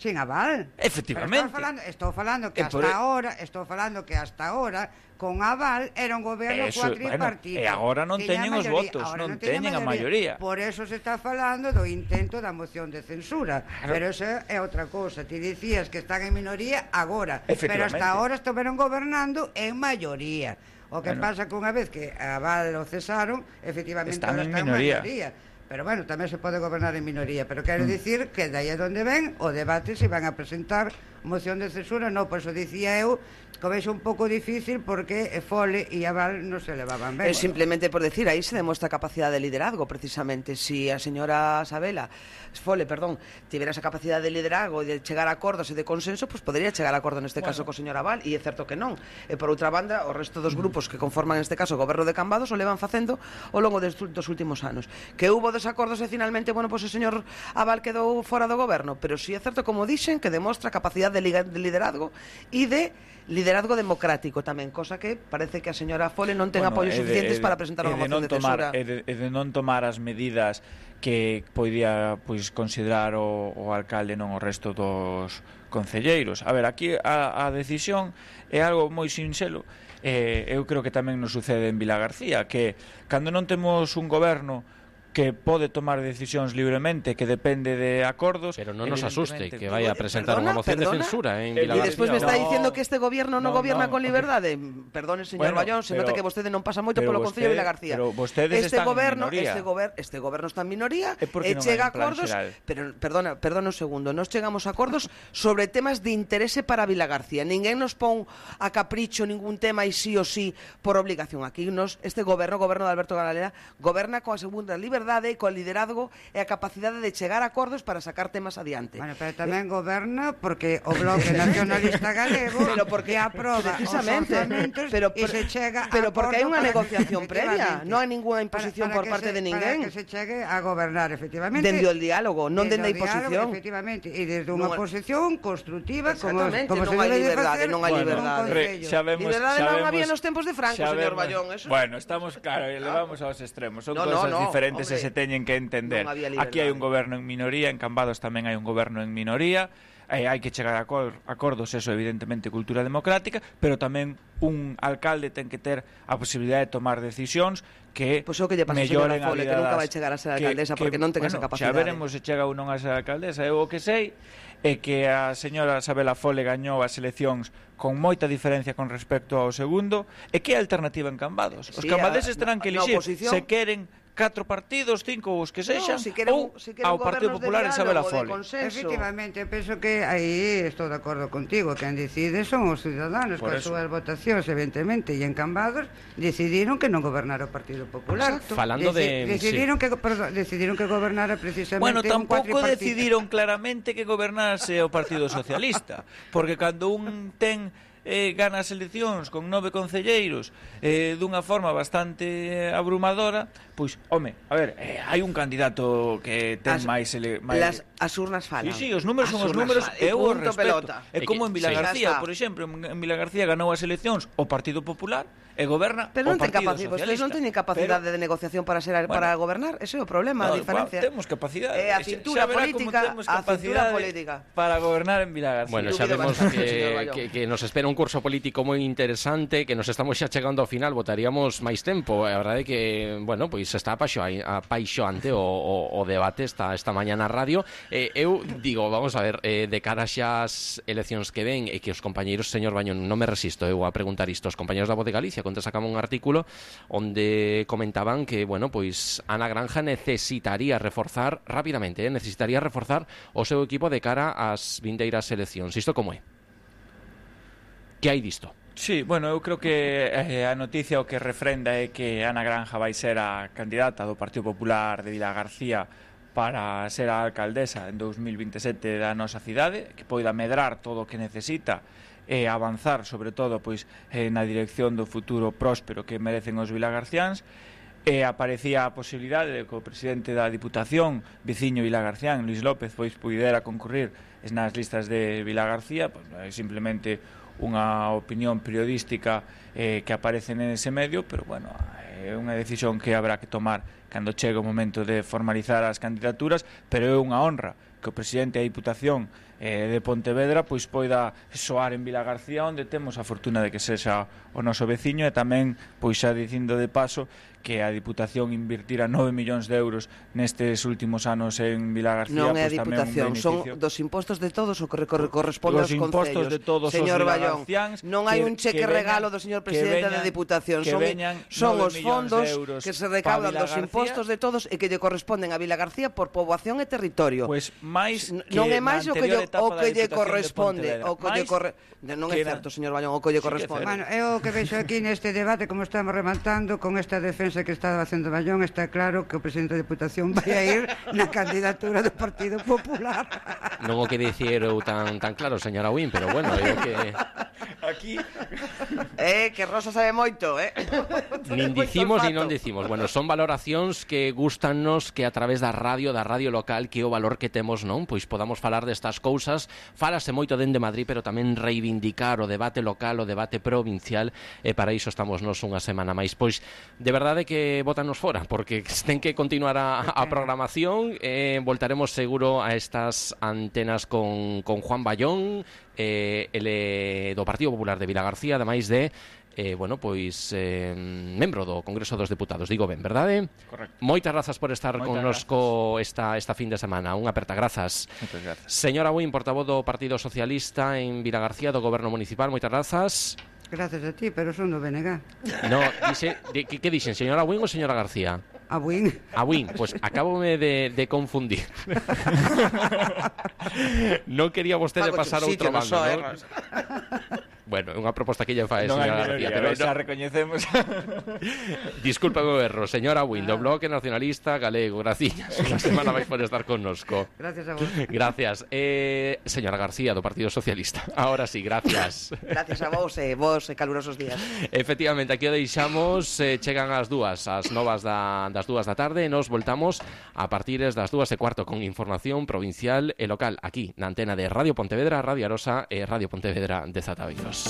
Sin aval. Efectivamente. Estou falando, estou falando que hasta por... ahora, estou falando que hasta ahora con aval era un goberno eso, cuatripartito. Bueno, e agora non teñen os votos, non, non teñen a maioría. Por eso se está falando do intento da moción de censura. Claro. Pero eso é outra cousa. Ti dicías que están en minoría agora, pero hasta ahora estiveron gobernando en maioría. O que bueno. pasa que unha vez que a aval o cesaron, efectivamente están ahora en están minoría. en maioría. Pero bueno, tamén se pode gobernar en minoría. Pero quero mm. dicir que dai a donde ven o debate se van a presentar moción de censura. Non, por eso dicía eu que vexo un pouco difícil porque Fole e Aval non se levaban ben. É simplemente por decir, aí se demostra a capacidade de liderazgo, precisamente. Si a señora Sabela, Fole, perdón, tivera esa capacidade de liderazgo e de chegar a acordos e de consenso, pois pues podría chegar a acordo neste bueno. caso co señor Aval, e é certo que non. E por outra banda, o resto dos grupos que conforman neste caso o goberno de Cambados o levan facendo ao longo dos, dos últimos anos. Que hubo desacordos e finalmente, bueno, pois pues, o señor Aval quedou fora do goberno, pero si é certo, como dixen, que demostra capacidade de liderazgo e de liderazgo democrático tamén, cosa que parece que a señora Fole non ten bueno, apoios de, suficientes de, para presentar unha moción de tomar, censura. E de, e de non tomar as medidas que podía pois, considerar o, o alcalde, non o resto dos concelleiros. A ver, aquí a, a decisión é algo moi sinxelo. Eh, eu creo que tamén nos sucede en Vila García, que cando non temos un goberno que pode tomar decisións libremente, que depende de acordos. Pero non nos asuste que vaya a presentar unha moción perdona, de censura en eh, Vilagarcía. E despois me está no, dicindo que este gobierno non no, gobierna no, con liberdade. Perdone, señor bueno, Ballón, se pero, nota que vostede non pasa moito polo vostede, Concello de Vilagarcía. Pero vostedes este están goberno, en minoría. este goberno, este goberno está en minoría e non chega hai un plan acordos, xeral. pero perdona, perdona un segundo, nos chegamos a acordos sobre temas de interese para Vilagarcía. Ninguén nos pon a capricho ningún tema e sí o sí por obligación. Aquí nos este goberno, o goberno de Alberto Galera, goberna coa segunda liberdade, coa liderazgo e a capacidade de chegar a acordos para sacar temas adiante. Bueno, pero tamén eh? goberna porque o Bloque Nacionalista Galego pero porque aproba precisamente, os orzamentos pero, e se chega pero a porque hai unha para, negociación previa, non hai ninguna imposición para, para por parte se, de ninguén. Para que se chegue a gobernar, efectivamente. Dende o diálogo, non dende a imposición. Diálogo, efectivamente, e desde unha non, posición constructiva, como, como non se hai debe liberdade, facer, non hai bueno, liberdade. Re, xa vemos, liberdade xa non vemos, había nos tempos de Franco, señor Ballón. Eso... Bueno, estamos, claro, elevamos aos extremos. Son no, cosas no, no, diferentes hombre, e se teñen que entender. Aquí hai un goberno en minoría, en Cambados tamén hai un goberno en minoría, eh, hai que chegar a acor acordos, eso evidentemente cultura democrática, pero tamén un alcalde ten que ter a posibilidade de tomar decisións que pues o que lle pasa melloren a Fole, que nunca vai chegar a ser alcaldesa que, porque non ten bueno, esa capacidade. Xa veremos se chega ou non a ser alcaldesa. Eu o que sei é que a señora Sabela Fole gañou as eleccións con moita diferencia con respecto ao segundo, e que é a alternativa en Cambados. Os sí, cambadeses a, terán que elixir se queren catro partidos, cinco ou os que sexan, no, si queren, ou si queren ao Partido Popular e Isabela Fole. Efectivamente, penso que aí estou de acordo contigo, quen decide son os ciudadanos, coas súas votacións, evidentemente, e en Cambados decidiron que non gobernara o Partido Popular. Exacto. Falando Deci de... Decidiron, sí. que, perdón, decidiron que gobernara precisamente bueno, un tampouco decidiron claramente que gobernase o Partido Socialista, porque cando un ten... Eh, gana as eleccións con nove concelleiros eh, dunha forma bastante abrumadora, pois, home, a ver, eh, hai un candidato que ten as, máis, ele, máis... Las, as urnas falan. Sí, sí, os números as son os números e eu os respeto. É como en Vilagarcía, sí. por exemplo, en Vilagarcía ganou as eleccións o Partido Popular e goberna pero o Partido Socialista. Pero non teñen capacidade pero, de negociación para ser bueno, para gobernar, ese é o problema, no, a diferencia. Temos capacidade. Eh, a cintura política, a cintura política para gobernar en Vilagarcía. Bueno, sabemos que, que, que nos espera un curso político moi interesante, que nos estamos xa chegando ao final, votaríamos máis tempo. A verdade é que, bueno, pois está apaixoante o, o, o debate esta, esta mañá na radio. Eh, eu digo, vamos a ver, eh, de cara xa as eleccións que ven, e que os compañeiros, señor Bañón, non me resisto eu a preguntar isto, os compañeiros da Voz de Galicia, contra sacamos un artículo onde comentaban que, bueno, pois Ana Granja necesitaría reforzar rapidamente, eh, necesitaría reforzar o seu equipo de cara ás vindeiras eleccións. Isto como é? Que hai disto? Sí, bueno, eu creo que eh, a noticia o que refrenda é que Ana Granja vai ser a candidata do Partido Popular de Vilagarcía para ser a alcaldesa en dous mil vinte e sete da nosa cidade, que poida medrar todo o que necesita e avanzar, sobre todo, pois eh, na dirección do futuro próspero que merecen os vilagarciáns. E aparecía a posibilidade de que o presidente da Diputación, veciño vilagarcián, Luis López, pois pudera concurrir nas listas de Vilagarcía, pois, é simplemente unha opinión periodística eh, que aparece nese medio, pero bueno, é unha decisión que habrá que tomar cando chegue o momento de formalizar as candidaturas, pero é unha honra que o presidente da Diputación eh, de Pontevedra pois poida soar en Vilagarcía, onde temos a fortuna de que sexa o noso veciño, e tamén, pois xa dicindo de paso, que a Diputación invirtira nove millóns de euros nestes últimos anos en Vilagarcía. Non é a pois, Diputación, son dos impostos de todos o que corresponde aos concellos. De todos señor os Ballón, non hai un cheque veñan, regalo do señor presidente veñan, da Diputación, son, son os fondos que se recaudan dos impostos de todos e que lle corresponden a Vilagarcía por poboación e territorio. Pois máis que non é máis o que lle, o que lle corresponde, o que lle corre... non é certo, señor Ballón, o que lle corresponde. Bueno, eu o que vexo aquí neste debate, como estamos rematando con esta defensa que está facendo Ballón, está claro que o presidente da Diputación vai a ir na candidatura do Partido Popular. Non o que dicir eu tan tan claro, señora Win, pero bueno, é que aquí eh que Rosa sabe moito, eh. Nin dicimos ni non dicimos. Bueno, son valoracións que gustannos que a través da radio, da radio local, que é o valor que temos, non? Pois podamos falar destas cousas. Falase moito dende Madrid, pero tamén reivindicar o debate local, o debate provincial, e para iso estamos nos unha semana máis. Pois de verdade que bótanos fora, porque ten que continuar a, a programación. Eh, voltaremos seguro a estas antenas con, con Juan Ballón, eh, ele do Partido Popular de Vilagarcía, ademais de eh, bueno, pois eh, membro do Congreso dos Deputados, digo ben, verdade? Correcto. Moitas grazas por estar Moitas connosco esta, esta fin de semana. Unha aperta grazas. Moitas grazas. Señora Buin, portavoz do Partido Socialista en Vilagarcía do Goberno Municipal, moitas grazas. Gracias a ti, pero son do B N G. No, dice, de, que, que dixen, señora Buin ou señora García? A Buin. A Buin, pues acabome de, de confundir. Non quería vostede pasar a outro bando, non? Bueno, é unha proposta que ella fai, non señora hai García, pero pero xa no... recoñecemos. Disculpa o erro, señora Buin, do Bloque Nacionalista Galego, graciñas. Unha semana vais por estar connosco. Gracias a vos. Gracias. Eh, señora García, do Partido Socialista. Ahora sí, gracias. Gracias a vos e eh, vos eh, calurosos días. Efectivamente, aquí o deixamos, eh, chegan as dúas, as novas da, das dúas da tarde, e nos voltamos a partir das dúas e cuarto con información provincial e local aquí na antena de Radio Pontevedra, Radio Arosa e Radio Pontevedra de Zata Beiros.